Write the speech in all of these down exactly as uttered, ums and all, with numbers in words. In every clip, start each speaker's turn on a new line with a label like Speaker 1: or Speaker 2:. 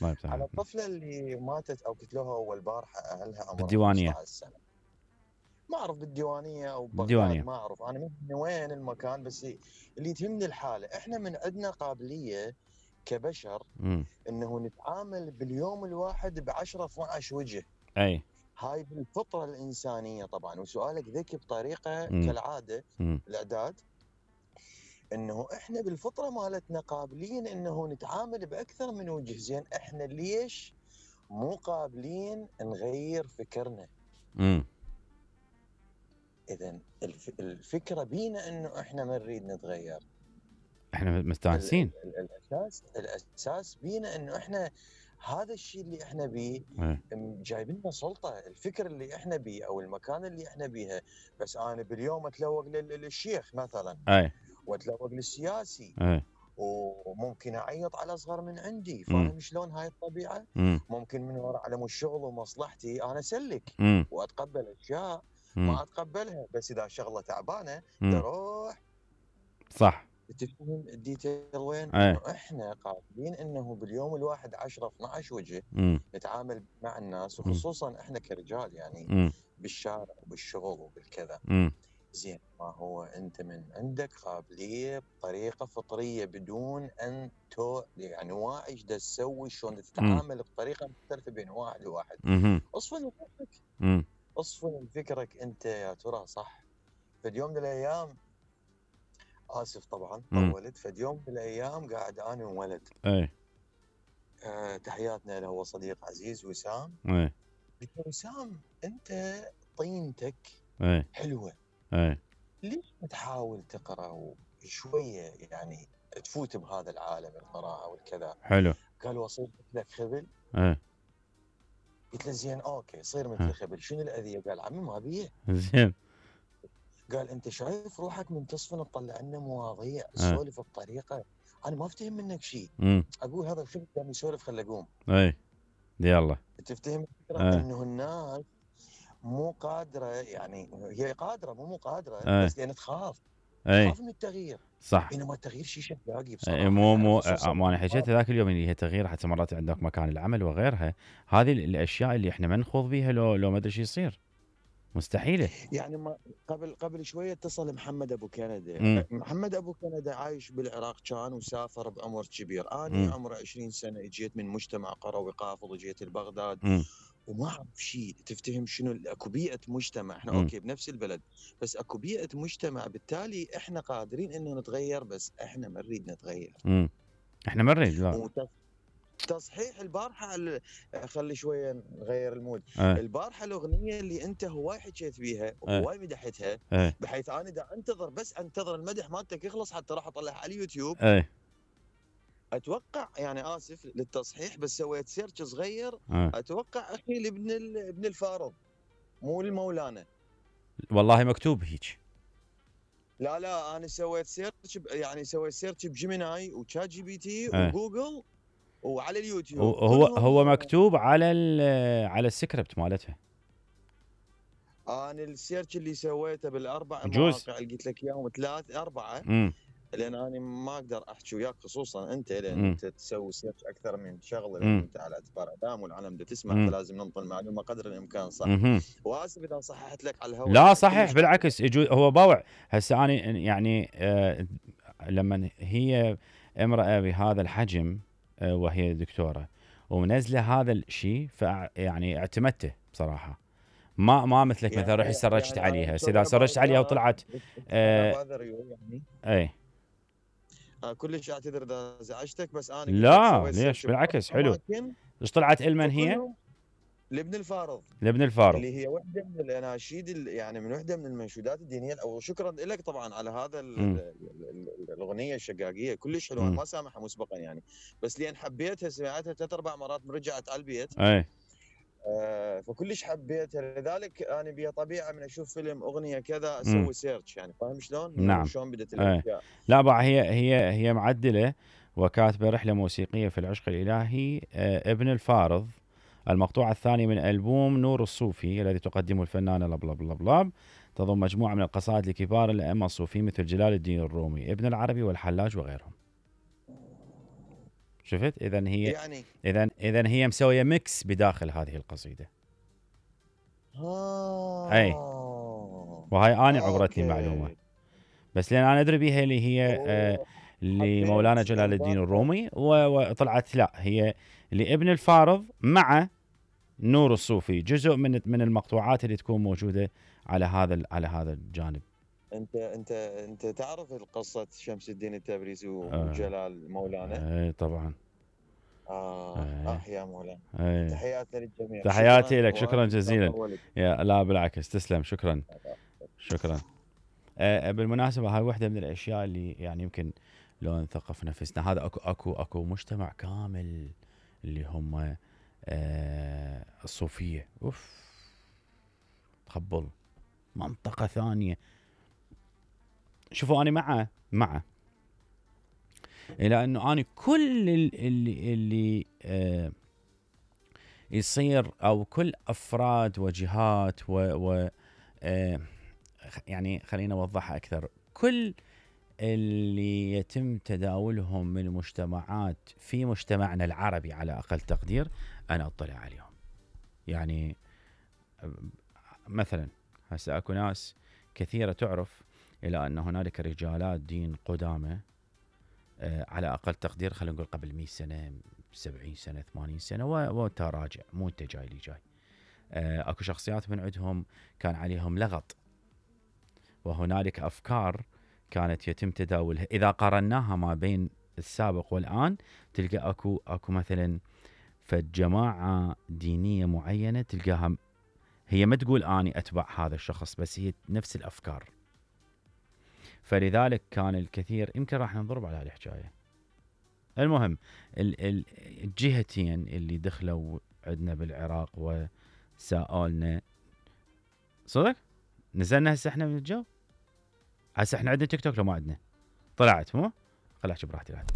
Speaker 1: الله يفتح
Speaker 2: على
Speaker 1: عليك.
Speaker 2: الطفله اللي ماتت او قتلوها اول بارحه اهلها عمرها
Speaker 1: بالديوانية.
Speaker 2: خمسة عشر سنه. ما اعرف بالديوانيه او ببغداد،
Speaker 1: بالديوانية.
Speaker 2: ما اعرف انا من وين المكان، بس اللي تهمني الحاله. احنا من عندنا قابليه كبشر
Speaker 1: امم
Speaker 2: انه نتعامل باليوم الواحد ب عشرة اثنعش وجه.
Speaker 1: اي.
Speaker 2: هاي بالفطره الانسانيه طبعا. وسؤالك ذكي بطريقه
Speaker 1: امم
Speaker 2: كالعاده
Speaker 1: امم
Speaker 2: الاعداد، انه احنا بالفطره مالتنا قابلين انه نتعامل باكثر من وجه. زين احنا ليش مو قابلين نغير فكرنا؟
Speaker 1: امم
Speaker 2: اذا الف... الفكره بينا انه احنا ما نريد نتغير.
Speaker 1: احنا
Speaker 2: ال...
Speaker 1: مستانسين.
Speaker 2: ال... ال... الاساس الاساس بينا انه احنا هذا الشيء اللي احنا بيه
Speaker 1: اي.
Speaker 2: جايبين لنا سلطه. الفكر اللي احنا بيه او المكان اللي احنا بيها. بس انا باليوم اتلوق لل... للشيخ مثلا،
Speaker 1: اي.
Speaker 2: واتلوق للسياسي،
Speaker 1: اي.
Speaker 2: وممكن اعيط على اصغر من عندي.
Speaker 1: امم
Speaker 2: فاهم شلون هاي الطبيعه؟
Speaker 1: امم
Speaker 2: ممكن من وراء على مو الشغل ومصلحتي انا اسلك
Speaker 1: امم
Speaker 2: واتقبل اشياء
Speaker 1: امم
Speaker 2: ما اتقبلها. بس اذا شغله تعبانه
Speaker 1: امم
Speaker 2: اروح.
Speaker 1: صح.
Speaker 2: تفهم الديتيل وين؟
Speaker 1: اي.
Speaker 2: انه احنا قابلين انه باليوم الواحد عشرة اثنعش وجه
Speaker 1: امم
Speaker 2: نتعامل مع الناس،
Speaker 1: امم
Speaker 2: وخصوصا احنا كرجال يعني
Speaker 1: امم
Speaker 2: بالشارع وبالشغل وبالكذا.
Speaker 1: امم
Speaker 2: زين ما هو انت من عندك قابليه بطريقه فطريه بدون ان تو يعني واعي ايش دا تسوي، شلون
Speaker 1: امم
Speaker 2: تتعامل بطريقه مختلفه بين واحد وواحد.
Speaker 1: امم
Speaker 2: اصفن فكرك،
Speaker 1: امم
Speaker 2: اصفن فكرك انت يا ترى صح. فد يوم من الايام، اسف طبعا
Speaker 1: امم
Speaker 2: طولت، فد يوم من الايام قاعد انا وولد،
Speaker 1: اي.
Speaker 2: آه تحياتنا له، هو صديق عزيز وسام.
Speaker 1: اي.
Speaker 2: قلت له وسام انت طينتك
Speaker 1: اي.
Speaker 2: حلوه،
Speaker 1: اي.
Speaker 2: ليش ما تحاول تقرا شويه يعني تفوت بهذا العالم القراءه والكذا؟
Speaker 1: حلو.
Speaker 2: قال واصير مثلك خبل.
Speaker 1: اي.
Speaker 2: قلت له زين اوكي صير
Speaker 1: ها.
Speaker 2: مثل خبل، شنو الاذيه؟ قال عمي ما بيه.
Speaker 1: زين.
Speaker 2: قال انت شايف روحك من تصفن تطلع لنا مواضيع
Speaker 1: اي.
Speaker 2: تسولف بطريقه انا ما افتهم منك شيء.
Speaker 1: امم
Speaker 2: اقول هذا الخبل قام يسولف خل اقوم.
Speaker 1: اي. يلا.
Speaker 2: تفتهم الفكره؟
Speaker 1: اي.
Speaker 2: انه الناس مو قادره، يعني هي قادره مو مو قادره،
Speaker 1: اي.
Speaker 2: بس لان تخاف
Speaker 1: اي.
Speaker 2: تخاف من التغيير.
Speaker 1: صح.
Speaker 2: بينما التغيير شيء شفاقي
Speaker 1: إيه،
Speaker 2: بصراحه
Speaker 1: مو
Speaker 2: يعني،
Speaker 1: مو
Speaker 2: خصوصا
Speaker 1: ما انا
Speaker 2: بالشباب.
Speaker 1: حكيت ذاك اليوم اللي هي تغيير حتى مرات عندك مكان العمل وغيرها. هذه الاشياء اللي احنا ما نخوض بيها لو لو ما ادري شو يصير. مستحيله.
Speaker 2: يعني ما قبل قبل شويه اتصل محمد ابو كندا.
Speaker 1: امم
Speaker 2: محمد ابو كندا عايش بالعراق كان وسافر بعمر كبير. اني
Speaker 1: امم
Speaker 2: عمري عشرين سنه اجيت من مجتمع قروي قافض وجيت لبغداد
Speaker 1: امم
Speaker 2: وما اعرف شيء. تفتهم شنو اكو بيئه مجتمع، احنا
Speaker 1: امم
Speaker 2: اوكي بنفس البلد بس اكو بيئه مجتمع، بالتالي احنا قادرين انه نتغير بس احنا ما نريد نتغير.
Speaker 1: امم احنا ما نريد لا.
Speaker 2: تصحيح البارحه ال- خلي شويه نغير المود.
Speaker 1: ايه.
Speaker 2: البارحه الاغنيه اللي انت هواي حكيت بيها
Speaker 1: ايه.
Speaker 2: وهواي مدحتها،
Speaker 1: ايه.
Speaker 2: بحيث انا دا انتظر بس انتظر المدح مالتك يخلص حتى راح اطلعها على اليوتيوب.
Speaker 1: ايه.
Speaker 2: اتوقع يعني اسف للتصحيح بس سويت سيرش صغير،
Speaker 1: ايه.
Speaker 2: اتوقع اخي لابن ال- ابن الفارض مو المولانا.
Speaker 1: والله مكتوب هيك.
Speaker 2: لا لا انا سويت سيرش ب- يعني سويت سيرش بجيميناي وشات جي بي تي
Speaker 1: ايه.
Speaker 2: وجوجل وعلى اليوتيوب
Speaker 1: وهو
Speaker 2: كلهم.
Speaker 1: هو مكتوب على ال- على السكريبت مالتها.
Speaker 2: انا السيرش اللي سويته بالاربع
Speaker 1: يجوز.
Speaker 2: مواقع اللي قلت لك اياهم، ثلاث اربعه،
Speaker 1: امم
Speaker 2: لان انا ما اقدر احكي وياك خصوصا انت، لان
Speaker 1: امم
Speaker 2: انت تسوي سيرش اكثر من شغله، لان
Speaker 1: امم
Speaker 2: انت على اعتبار اعلام والعالم بدها تسمع،
Speaker 1: امم
Speaker 2: فلازم ننطي المعلومه قدر الامكان صح.
Speaker 1: امم
Speaker 2: واسف اذا صححت لك على الهواء،
Speaker 1: لا
Speaker 2: يعني
Speaker 1: صحيح
Speaker 2: كلش عادي.
Speaker 1: بالعكس يجوز هو باوع. هسه انا يعني آه لما هي امراه بهذا الحجم آه وهي دكتوره ومنزله هذا الشيء ف يعني اعتمدته بصراحه. ما ما مثلك مثلا رحت
Speaker 2: يعني
Speaker 1: سرجت
Speaker 2: يعني
Speaker 1: عليها.
Speaker 2: I'm
Speaker 1: هسه
Speaker 2: sorry
Speaker 1: اذا سرجت
Speaker 2: about
Speaker 1: عليها
Speaker 2: that.
Speaker 1: وطلعت
Speaker 2: انا
Speaker 1: آه
Speaker 2: بعذر يعني.
Speaker 1: اي.
Speaker 2: آه كلش اعتذر اذا ازعجتك، بس انا قلت لك
Speaker 1: لا
Speaker 2: سويت
Speaker 1: ليش
Speaker 2: سيرش باربع
Speaker 1: بالعكس حلو.
Speaker 2: اماكن
Speaker 1: ايش طلعت المن هي؟
Speaker 2: وكلهم لابن الفارض،
Speaker 1: لابن الفارض.
Speaker 2: اللي هي وحده من الاناشيد ال- يعني من وحده من المنشودات الدينيه. او شكرا لك طبعا على هذا ال-
Speaker 1: امم
Speaker 2: ال- ال- الاغنيه الشقاقيه كلش حلوه، انا
Speaker 1: امم
Speaker 2: ما سامحها مسبقا يعني، بس لان حبيتها سمعتها ثلاث اربع مرات رجعت على البيت.
Speaker 1: اي.
Speaker 2: آه فكلش حبيتها، لذلك انا بيا طبيعه من اشوف فيلم اغنيه كذا
Speaker 1: امم
Speaker 2: اسوي سيرش، يعني فاهم شلون انه
Speaker 1: نعم.
Speaker 2: شلون بدت
Speaker 1: اي.
Speaker 2: الاشياء.
Speaker 1: لا بقى هي هي هي معدله وكاتبه رحله موسيقيه في العشق الالهي آه ابن الفارض. المقطوعة الثانية من ألبوم نور الصوفي الذي تقدمه الفنانة لبلب لبلب لاب. تضم مجموعة من القصائد لكبار الأئمة الصوفيين مثل جلال الدين الرومي ابن العربي والحلاج وغيرهم. شفت؟ اذا هي
Speaker 2: يعني
Speaker 1: اذا اذا هي مسويه ميكس بداخل هذه القصيده.
Speaker 2: اه
Speaker 1: اي وهاي انا عبرتني معلومه،
Speaker 2: اوكي.
Speaker 1: بس لان انا ادري بيها اللي هي آه
Speaker 2: أوه.
Speaker 1: لمولانا
Speaker 2: حبيت
Speaker 1: جلال الدين
Speaker 2: انضافها.
Speaker 1: الرومي، و- وطلعت لا هي لابن الفارض مع نور الصوفي، جزء من من المقطوعات اللي تكون موجوده على هذا ال- على هذا الجانب.
Speaker 2: انت انت انت تعرف القصه شمس الدين التبريزي
Speaker 1: آه
Speaker 2: وجلال مولانا؟
Speaker 1: اي طبعا.
Speaker 2: اه
Speaker 1: اي
Speaker 2: اه يا مولانا.
Speaker 1: اي
Speaker 2: تحياتنا للجميع.
Speaker 1: تحياتي
Speaker 2: شكرا
Speaker 1: لك، شكرا
Speaker 2: واسف لا
Speaker 1: جزيلا.
Speaker 2: طولت.
Speaker 1: يا لا بالعكس، تسلم، شكرا شكرا. آه بالمناسبه هاي واحده من الاشياء اللي يعني يمكن لو نثقف نفسنا، هذا اكو اكو اكو مجتمع كامل اللي هم آه الصوفيه، اوف تخبل منطقه ثانيه. شوفوا انا مع مع الى انه انا كل اللي اللي آه يصير، او كل افراد وجهات و, و آه يعني خلينا اوضحها اكثر، كل اللي يتم تداولهم من مجتمعات في مجتمعنا العربي على اقل تقدير انا اطلع عليهم. يعني مثلا هسه اكو ناس كثيره تعرف الى ان هنالك رجالات دين قدامى آه على اقل تقدير، خلينا نقول قبل مئة سنه، سبعين سنه، ثمانين سنه، وانت راجع مو انت جاي لي جاي. آه اكو شخصيات من عندهم كان عليهم لغط، وهنالك افكار كانت يتم تداولها. اذا قارناها ما بين السابق والان تلقى اكو اكو مثلا فجماعه دينيه معينه تلقاها هي ما تقول اني اتبع هذا الشخص، بس هي نفس الافكار. فلذلك كان الكثير، يمكن راح نضرب على هالحكايه. المهم الجهتين اللي دخلوا عندنا بالعراق وسالنا صدق، نزلنا هسه احنا من الجو. هسه احنا عندنا تيك توك لو ما عندنا؟ طلعت مو؟ خل احكي براحتي بعد.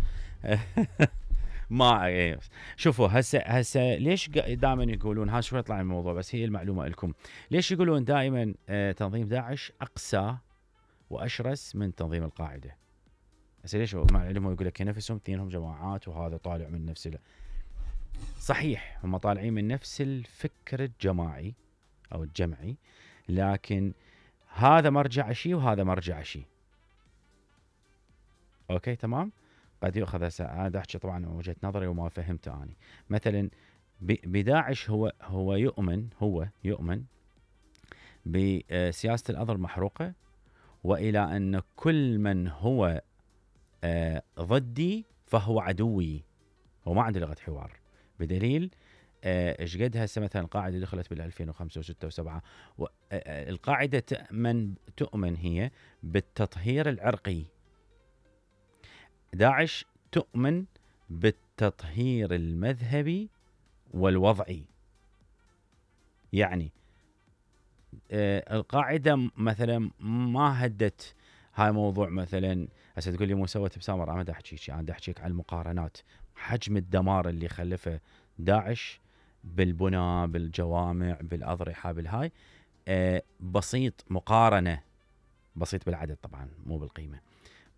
Speaker 1: ما إيه. شوفوا هسه هسه ليش دائما يقولون، ها شوي يطلع الموضوع بس هي المعلومه لكم، ليش يقولون دائما اه تنظيم داعش اقسى واشرس من تنظيم القاعده؟ هسه ليش مع العلم يقول لك نفسهم اثنينهم جماعات وهذا طالع من نفس ال... صحيح هم طالعين من نفس الفكر الجماعي او الجمعي، لكن هذا مرجع شيء وهذا مرجع شيء. اوكي تمام. قد يؤخذ هسه انا احكي طبعا من وجهه نظري وما فهمته اني. مثلا بداعش هو هو يؤمن هو يؤمن بسياسه الارض المحروقه، والى ان كل من هو ضدي فهو عدوي. هو ما عنده لغه حوار، بدليل ايش قد هسه مثلا القاعده دخلت بال ألفين وخمسة وستة وسبعة. القاعده تؤمن تؤمن هي بالتطهير العرقي، داعش تؤمن بالتطهير المذهبي والوضعي. يعني آه القاعده مثلا ما هدت هاي موضوع، مثلا هسه تقول لي مو سوت بسامر، انا ما احكيك، انا احكيك عن المقارنات، حجم الدمار اللي خلفه داعش بالبناء بالجوامع بالاضرحه بالهاي آه بسيط، مقارنه بسيط بالعدد طبعا مو بالقيمه،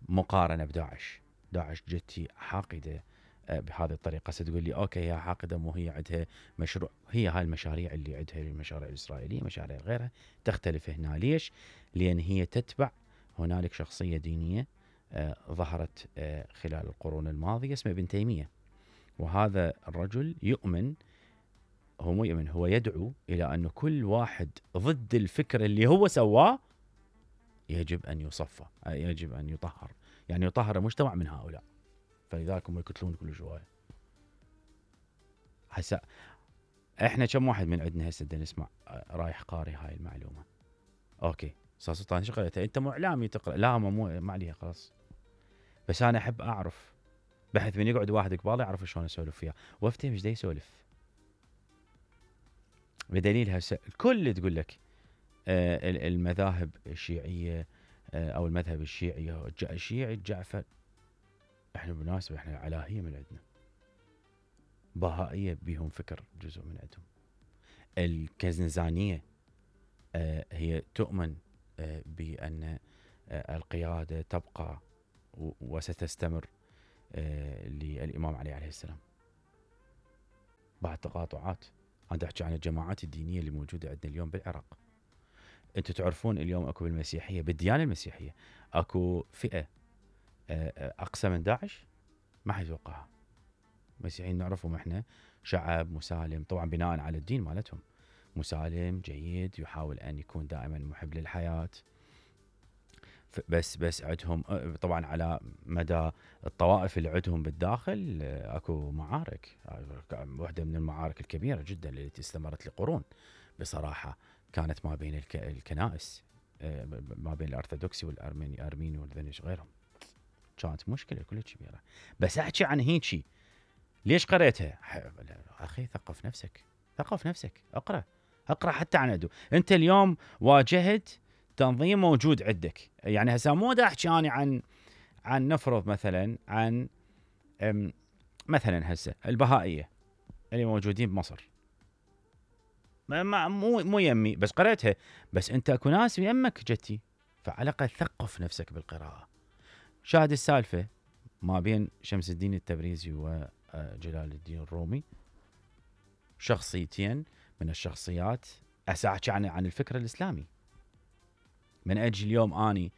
Speaker 1: مقارنه بداعش. داعش جتي حاقده بهذه الطريقه. ستقول لي اوكي هي حاقده مو هي عندها مشروع، هي هاي المشاريع اللي عندها المشاريع الاسرائيليه مشاريع غيرها تختلف هنا. ليش؟ لان هي تتبع هنالك شخصيه دينيه آه ظهرت آه خلال القرون الماضيه اسمه ابن تيميه، وهذا الرجل يؤمن، هو مو يؤمن، هو يدعو الى ان كل واحد ضد الفكر اللي هو سواه يجب ان يصفى، يجب ان يطهر، يعني يطهر المجتمع من هؤلاء. فلذلك هم يقتلون كل شويه. هسه احنا كم واحد من عندنا هسه بدنا نسمع رايح قاري هاي المعلومه. اوكي استاذ سلطان شو قريتها انت؟ مو اعلامي تقرا؟ لا مو ما عليها خلاص، بس انا احب اعرف بحيث من يقعد واحد قبالي يعرف شلون اسولف فيها وافتهم ايش دا يسولف. بدليل هسه الكل تقول لك آه المذاهب الشيعيه آه او المذهب الشيعي الشيعي الجعفر، احنا بالمناسبه احنا علاهيه من عندنا، بهائيه بيهم فكر جزء من عندهم. الكزنزانيه آه هي تؤمن آه بان آه القياده تبقى وستستمر آه للإمام علي عليه السلام. بعد تقاطعات. أنا أحكي عن الجماعات الدينية اللي موجودة عندنا اليوم بالعراق. أنتم تعرفون اليوم أكو بالمسيحية، بالديانة المسيحية أكو فئة أقسى من داعش؟ ما حد يتوقعها. المسيحيين نعرفهم احنا شعب مسالم، طبعا بناء على الدين مالتهم، مسالم جيد، يحاول أن يكون دائما محب للحياة. بس بس عندهم طبعا على مدى الطوائف اللي عندهم بالداخل اكو معارك. واحدة من المعارك الكبيرة جدا التي استمرت لقرون بصراحة كانت ما بين الك... الكنائس، ما بين الأرثوذكسي والأرميني أرميني والذنش غيرهم. كانت مشكلة كلها كبيرة. بس أحكي عن هيجي ليش قريتها؟ أخي ثقف نفسك، ثقف نفسك، أقرأ أقرأ حتى عن عدو. أنت اليوم واجهت تنظيم موجود عندك، يعني هسه مو دا أحكي أنا عن عن نفرض مثلا عن مثلا هسه البهائية اللي موجودين بمصر، ما مو مو يمي بس قريتها، بس أنت أكو ناس يمك جتي، فعلى الأقل ثقف نفسك بالقراءة. شاهد السالفة ما بين شمس الدين التبريزي وجلال الدين الرومي، شخصيتين من الشخصيات أحكي عن عن الفكر الإسلامي. من أجل اليوم أني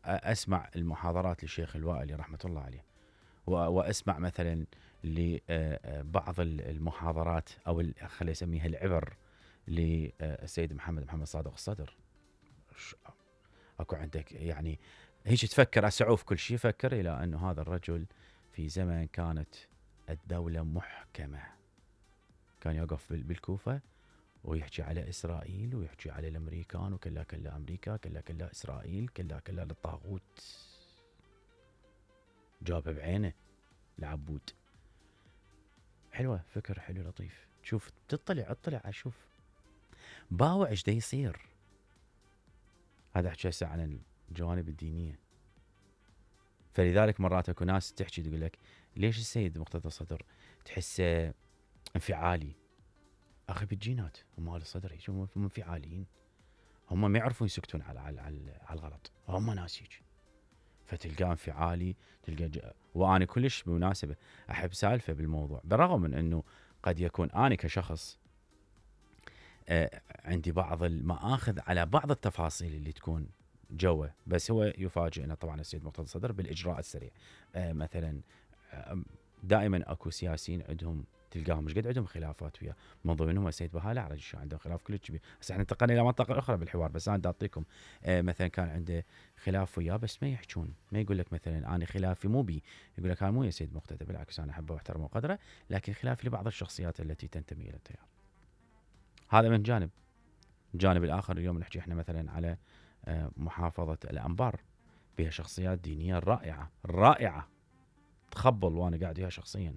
Speaker 1: أسمع المحاضرات للشيخ الوائلي رحمة الله عليه، وأسمع مثلا لبعض المحاضرات أو خلي أسميها العبر للسيد محمد محمد صادق الصدر. أكو عندك يعني هيك تفكر أسعوف كل شيء، فكر إلى أنه هذا الرجل في زمن كانت الدولة محكمة، كان يقف بالكوفة ويحكي على إسرائيل ويحكي على الأمريكان، وكلا كلا أمريكا، كلا كلا إسرائيل، كلا كلا للطاغوت. جاب بعينه العبود. حلوة، فكر حلو لطيف. شوف تطلع اطلع اشوف باوع ايش دا يصير. هذا احكي هسه عن الجوانب الدينية. فلذلك مرات اكو ناس تحكي تقول لك ليش السيد مقتدى الصدر تحسه انفعالي؟ اخي بالجينات هم اهل الصدر هيك، هم انفعاليين، هم ما يعرفون يسكتون على على على الغلط، هم ناس هيك. فتلقاه انفعالي، تلقى ج... وانا كلش بمناسبه احب سالفه بالموضوع، بالرغم من انه قد يكون انا كشخص آه عندي بعض المآخذ على بعض التفاصيل اللي تكون جوه، بس هو يفاجئنا طبعا السيد مقتدى الصدر بالاجراء السريع. آه مثلا آه دائما اكو سياسيين عندهم تلقاهم مش قد عندهم خلافات وياه، من ضمنهم السيد بهاء الأعرج عندهم خلاف كلش كبير. هسه احنا انتقلنا الى منطقه اخرى بالحوار، بس انا بدي اعطيكم آه مثلا كان عنده خلاف وياه بس ما يحجون، ما يقول لك مثلا انا خلافي مو بي، يقول لك هذا مو يا سيد مقتدى، بالعكس انا احبه واحترمه وقدره، لكن خلافي لبعض الشخصيات التي تنتمي الى التيار. هذا من جانب. الجانب الاخر اليوم نحكي احنا مثلا على آه محافظه الانبار، بها شخصيات دينيه رائعه رائعه تخبل، وانا قاعد وياها شخصيا.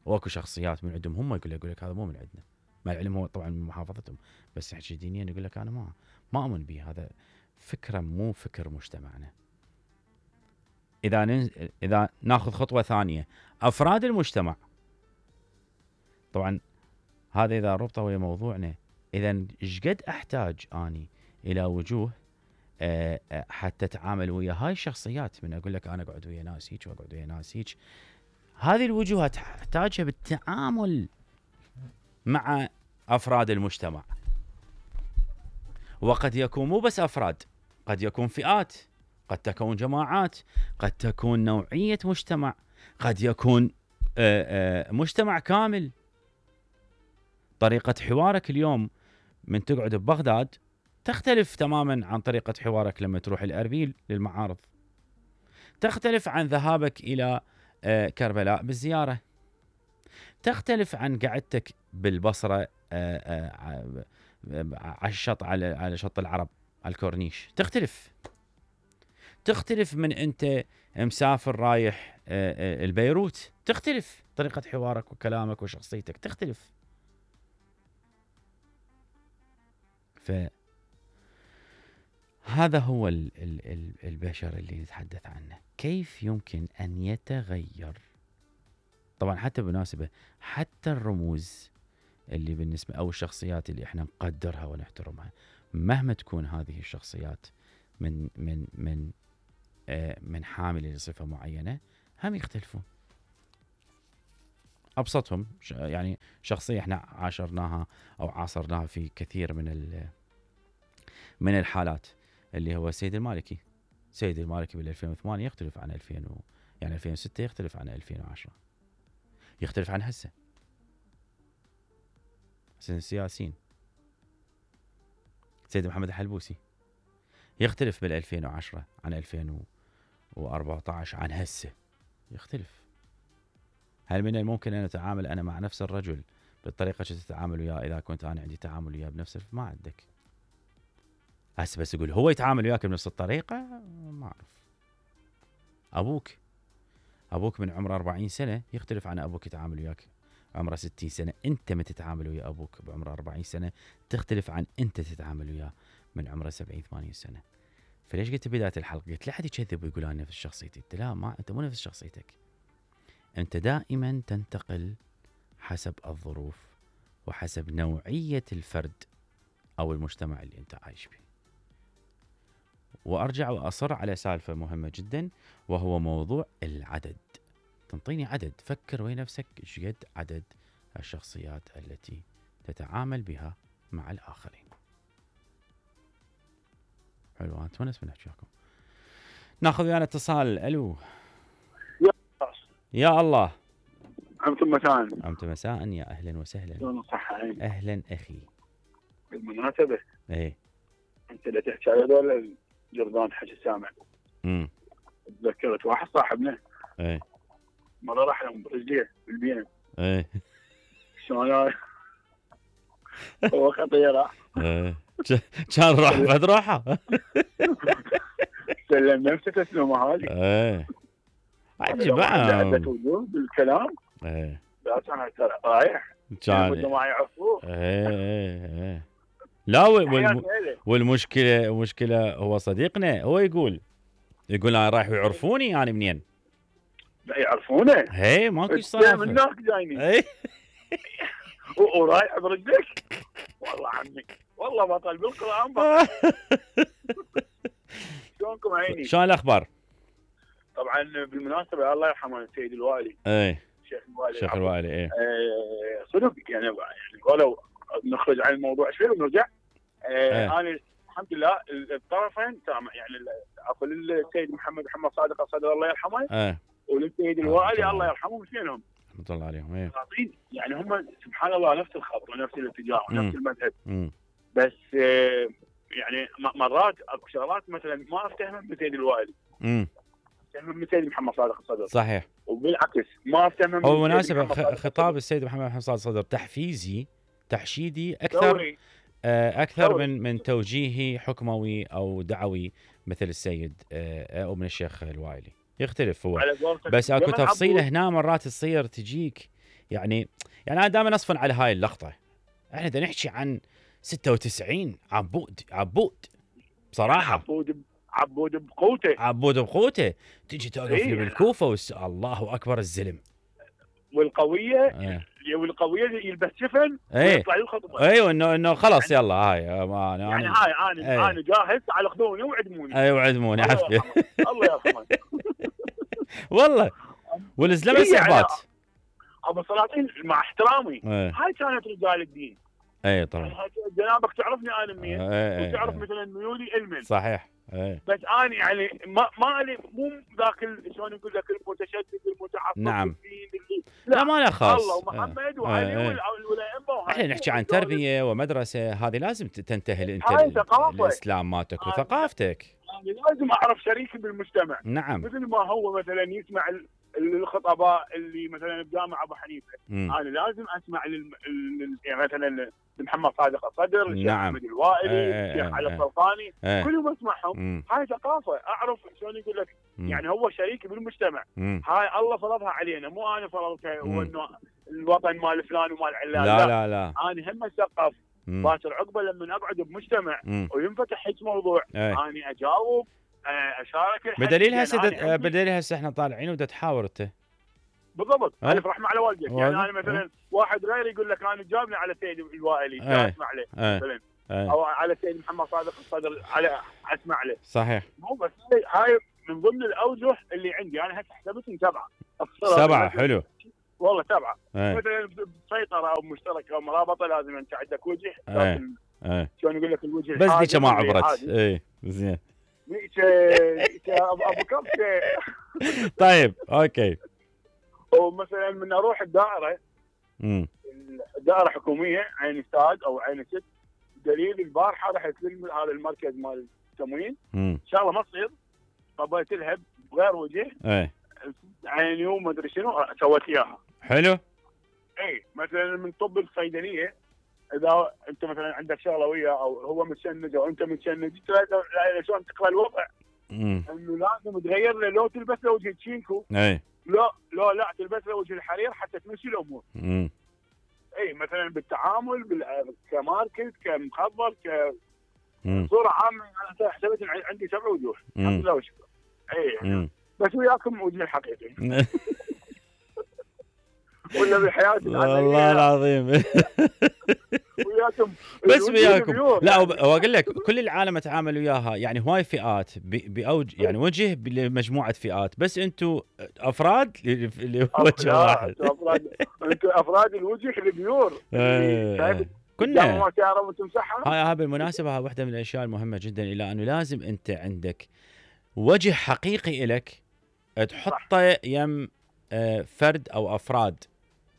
Speaker 1: واكو شخصيات من عندهم هم يقول لك يقول لك هذا مو من عندنا، مع العلم هو طبعا من محافظتهم، بس يحكي دينيا يقول لك انا ما ما اؤمن به، هذا فكره مو فكر مجتمعنا. اذا ننز... اذا ناخذ خطوه ثانيه، افراد المجتمع، طبعا هذا اذا ربطه ويا موضوعنا، اذا ايش قد احتاج اني الى وجوه أه حتى اتعامل ويا هاي الشخصيات. من اقول لك انا اقعد ويا ناس هيك واقعد ويا ناس هيك، هذه الوجوه تحتاجها بالتعامل مع أفراد المجتمع. وقد يكون مو بس أفراد، قد يكون فئات، قد تكون جماعات، قد تكون نوعية مجتمع، قد يكون آآ آآ مجتمع كامل. طريقة حوارك اليوم من تقعد ببغداد تختلف تماما عن طريقة حوارك لما تروح الأربيل للمعارض، تختلف عن ذهابك إلى كربلاء بالزيارة، تختلف عن قعدتك بالبصرة على الشط على على شط العرب على الكورنيش، تختلف تختلف من أنت مسافر رايح البيروت، تختلف طريقة حوارك وكلامك وشخصيتك تختلف. فهذا هو البشر اللي نتحدث عنه، كيف يمكن أن يتغير. طبعا حتى بمناسبة حتى الرموز اللي بالنسبة أو الشخصيات اللي احنا نقدرها ونحترمها، مهما تكون هذه الشخصيات من من من آه من حاملة لصفة معينة، هم يختلفون. ابسطهم يعني شخصيه احنا عاشرناها او عاصرناها في كثير من من الحالات، اللي هو السيد المالكي. السيد المالكي بال ألفين وثمانية يختلف عن ألفين و... يعني ألفين وستة يختلف عن ألفين وعشرة، يختلف عن هسه. سن السياسيين سيد محمد الحلبوسي يختلف بال ألفين وعشرة عن ألفين وأربعة عشر عن هسه، يختلف. هل من الممكن ان اتعامل انا مع نفس الرجل بالطريقه اللي تتعامل وياه اذا كنت انا عندي تعامل وياه بنفس الف... ما عندك. هسه بس يقول هو يتعامل وياك بنفس الطريقه، ما اعرف. ابوك ابوك من عمره أربعين سنه يختلف عن ابوك يتعامل وياك عمره ستين سنه. انت ما تتعامل ويا ابوك بعمره أربعين سنه تختلف عن انت تتعامل وياه من عمره سبعين ثمانين سنه. فليش قلت بدايه الحلقه قلت لا حد يكذب ويقول انا نفس شخصيتي؟ انت لا، ما انت مو نفس شخصيتك. انت دائما تنتقل حسب الظروف وحسب نوعيه الفرد او المجتمع اللي انت عايش فيه. وارجع واصر على سالفه مهمه جدا، وهو موضوع العدد. تنطيني عدد، فكر ويا نفسك ايش قد عدد الشخصيات التي تتعامل بها مع الاخرين. حلو، انا اتونس من احكيكم. ناخذ ويانا اتصال. الو
Speaker 3: يا
Speaker 1: يا الله.
Speaker 3: عمت مساء.
Speaker 1: عمت مساء، يا اهلا وسهلا.
Speaker 3: شلون الصحة؟
Speaker 1: اهلا اخي.
Speaker 3: بالمناسبة
Speaker 1: ايه
Speaker 3: انت اللي تحكي على هذول الجرذان حكي سامع.
Speaker 1: امم
Speaker 3: تذكرت واحد صاحبنا
Speaker 1: ايه
Speaker 3: مرة راح لهم برجليه بالبيئة.
Speaker 1: ايه
Speaker 3: شلون هو خطيرة.
Speaker 1: ايه كان راح فد روحه.
Speaker 3: سلم نفسه تسلمه هذه.
Speaker 1: ايه عجيب
Speaker 3: عدة وجوه بالكلام.
Speaker 1: ايه
Speaker 3: بس انا ترى رايح
Speaker 1: كان
Speaker 3: ما يعرفوه.
Speaker 1: ايه ايه ايه لا والم... والمشكله المشكله هو صديقنا هو يقول يقول انا رايح يعرفوني يعني منين؟
Speaker 3: لا يعرفونه.
Speaker 1: هي ماكو صراحه
Speaker 3: من هناك جايني.
Speaker 1: اي
Speaker 3: ورايح برجلك. والله عمي والله بطل بالقران بطل. شلونكم عيني؟
Speaker 1: شلون الاخبار؟
Speaker 3: طبعا بالمناسبه الله يرحمه السيد الوالي.
Speaker 1: اي
Speaker 3: الشيخ الوالي.
Speaker 1: الشيخ الوالي اي
Speaker 3: آه صدق يعني يعني ولو نخرج عن الموضوع شوي ونرجع. آه انا الحمد لله الطرفين سامع يعني عفوا للسيد محمد محمد صادق الصدر الله يرحمه.
Speaker 1: اي
Speaker 3: وللسيد الوالي الله يرحمهم اثنينهم.
Speaker 1: رحمه الله عليهم. اي
Speaker 3: يعني هم سبحان الله نفس الخط ونفس الاتجاه ونفس المذهب.
Speaker 1: مم.
Speaker 3: بس آه يعني مرات اكو شغلات مثلا ما افتهمها من السيد الوالي.
Speaker 1: امم
Speaker 3: من السيد محمد صادق الصدر.
Speaker 1: صحيح.
Speaker 3: وبالعكس ما افتهمها من
Speaker 1: هو مناسبة خطاب السيد محمد محمد صادق الصدر تحفيزي تحشيدي اكثر
Speaker 3: دوري.
Speaker 1: اكثر
Speaker 3: دوري.
Speaker 1: من من توجيهي حكموي او دعوي مثل السيد او من الشيخ الوائلي. يختلف هو بس اكو تفصيله هنا مرات تصير تجيك يعني يعني انا دائما اصفن على هاي اللقطه. احنا بدنا نحكي عن ستة وتسعين عبود عبود بصراحه.
Speaker 3: عبود عبود بقوته.
Speaker 1: عبود بقوته تجي توقف لي
Speaker 3: إيه.
Speaker 1: بالكوفه وس... الله اكبر الزلم.
Speaker 3: والقويه
Speaker 1: ايه.
Speaker 3: والقويه يلبس شفن
Speaker 1: ايه.
Speaker 3: ويطلع الخطبه.
Speaker 1: ايوه انه انه خلاص يعني يلا هاي ما انا
Speaker 3: يعني هاي انا ايه. انا جاهز على خذوني وعدموني.
Speaker 1: ايوه وعدموني عافيه.
Speaker 3: الله يرحمه.
Speaker 1: والله والزلمه
Speaker 3: إيه
Speaker 1: صعبات.
Speaker 3: يعني ابو السلاطين مع احترامي.
Speaker 1: ايه.
Speaker 3: هاي كانت رجال الدين.
Speaker 1: اي طبعا.
Speaker 3: يعني جنابك تعرفني انا منين.
Speaker 1: ايه.
Speaker 3: وتعرف
Speaker 1: ايه.
Speaker 3: مثلا ميولي علما.
Speaker 1: صحيح. ايه.
Speaker 3: بس انا يعني ما ما لي مو ذاك شلون نقول لك المتشدد المتعصب.
Speaker 1: نعم.
Speaker 3: اللي
Speaker 1: لا, لا ما له خاص.
Speaker 3: الله ومحمد وعلي
Speaker 1: ايه.
Speaker 3: والائمه.
Speaker 1: احنا نحكي عن تربيه ومدرسه، هذه لازم تنتهي انت الاسلام مالتك وثقافتك.
Speaker 3: يعني لازم اعرف شريكي بالمجتمع.
Speaker 1: نعم.
Speaker 3: مثل ما هو مثلا يسمع الخطباء اللي مثلا بجامع ابو حنيفه.
Speaker 1: مم.
Speaker 3: انا لازم اسمع لل... يعني مثلا محمد صادق الصدر. الشيخ
Speaker 1: نعم.
Speaker 3: احمد الوائلي.
Speaker 1: ايه.
Speaker 3: الشيخ
Speaker 1: ايه.
Speaker 3: علي
Speaker 1: ايه.
Speaker 3: السلطاني.
Speaker 1: ايه.
Speaker 3: كلهم اسمعهم.
Speaker 1: مم.
Speaker 3: هاي ثقافه اعرف شلون يقول لك.
Speaker 1: مم.
Speaker 3: يعني هو شريكي بالمجتمع.
Speaker 1: مم.
Speaker 3: هاي الله فرضها علينا مو انا فرضتها. وانه الوطن مال فلان ومال علان.
Speaker 1: لا لا لا,
Speaker 3: انا هم اثقف. باكر عقبه لما اقعد بمجتمع
Speaker 1: مم.
Speaker 3: وينفتح هيك موضوع.
Speaker 1: ايه.
Speaker 3: انا اجاوب اشارك.
Speaker 1: بدليل هسه يعني بدليل هسه احنا طالعين ودا تحاور انت.
Speaker 3: بالضبط.
Speaker 1: أه؟
Speaker 3: الف رحمه على والدك.
Speaker 1: والد.
Speaker 3: يعني انا مثلا
Speaker 1: أه؟
Speaker 3: واحد غيري يقول لك انا جابني على سيد الوائلي.
Speaker 1: أه؟
Speaker 3: اسمع له.
Speaker 1: أه؟
Speaker 3: مثلا
Speaker 1: أه؟
Speaker 3: او على سيد محمد صادق الصدر على اسمع له.
Speaker 1: صحيح.
Speaker 3: مو بس هاي من ضمن الاوجه اللي عندي انا هسه حسبتهم سبعه.
Speaker 1: سبعه حلو
Speaker 3: والله سبعه.
Speaker 1: ايه.
Speaker 3: مثلا بسيطره او مشتركه او مرابطه لازم انت عندك وجه
Speaker 1: ايه.
Speaker 3: لكن
Speaker 1: ايه.
Speaker 3: شلون يقول لك الوجه
Speaker 1: بس ذيك ما
Speaker 3: اللي
Speaker 1: عبرت.
Speaker 3: عادي.
Speaker 1: ايه زين.
Speaker 3: ذيك ذيك ابو أبو كبشه.
Speaker 1: طيب اوكي.
Speaker 3: ومثلا من اروح الدائره
Speaker 1: امم
Speaker 3: الدائره حكوميه عين استاد او عين ست، دليل البارحه رحت هذا المركز مال التموين
Speaker 1: امم
Speaker 3: شغله ما تصير، قبلت لها بغير وجه
Speaker 1: ايه
Speaker 3: عين يوم ما ادري شنو سويت اياها.
Speaker 1: حلو.
Speaker 3: اي مثلا من طب الصيدليه اذا انت مثلا عندك شغله وياه او هو متشنج او انت متشنج شلون تقرا الوضع
Speaker 1: امم
Speaker 3: انه لازم تغير له، لو تلبس له وجه تشينكو
Speaker 1: ايه
Speaker 3: لا لا لا تلبس له وجه الحرير حتى تمشي الامور.
Speaker 1: امم
Speaker 3: اي مثلا بالتعامل بال... كماركت كمخبر
Speaker 1: امم
Speaker 3: كصوره عامه انا حسبت إن عندي سبع وجوه الحمد لله وشكرا. اي
Speaker 1: امم
Speaker 3: بس وياكم وجه الحقيقي ولا بحياتي
Speaker 1: والله العظيم
Speaker 3: وياكم
Speaker 1: بس
Speaker 3: الوجه
Speaker 1: وياكم.
Speaker 3: البيور
Speaker 1: لا
Speaker 3: يعني.
Speaker 1: وب- واقول لك كل العالم اتعامل وياها، يعني هواي فئات ب- باوج يعني وجه لمجموعه فئات، بس انتم افراد ل- لوجه
Speaker 3: لا،
Speaker 1: واحد.
Speaker 3: أنتوا افراد انتوا افراد الوجه البيور اللي شايف
Speaker 1: كنا
Speaker 3: ما تعرف وتمسحها.
Speaker 1: هاي هاي بالمناسبه، هاي واحده من الاشياء المهمه جدا، الى انه لازم انت عندك وجه حقيقي لك تحطه يم آه، فرد او افراد.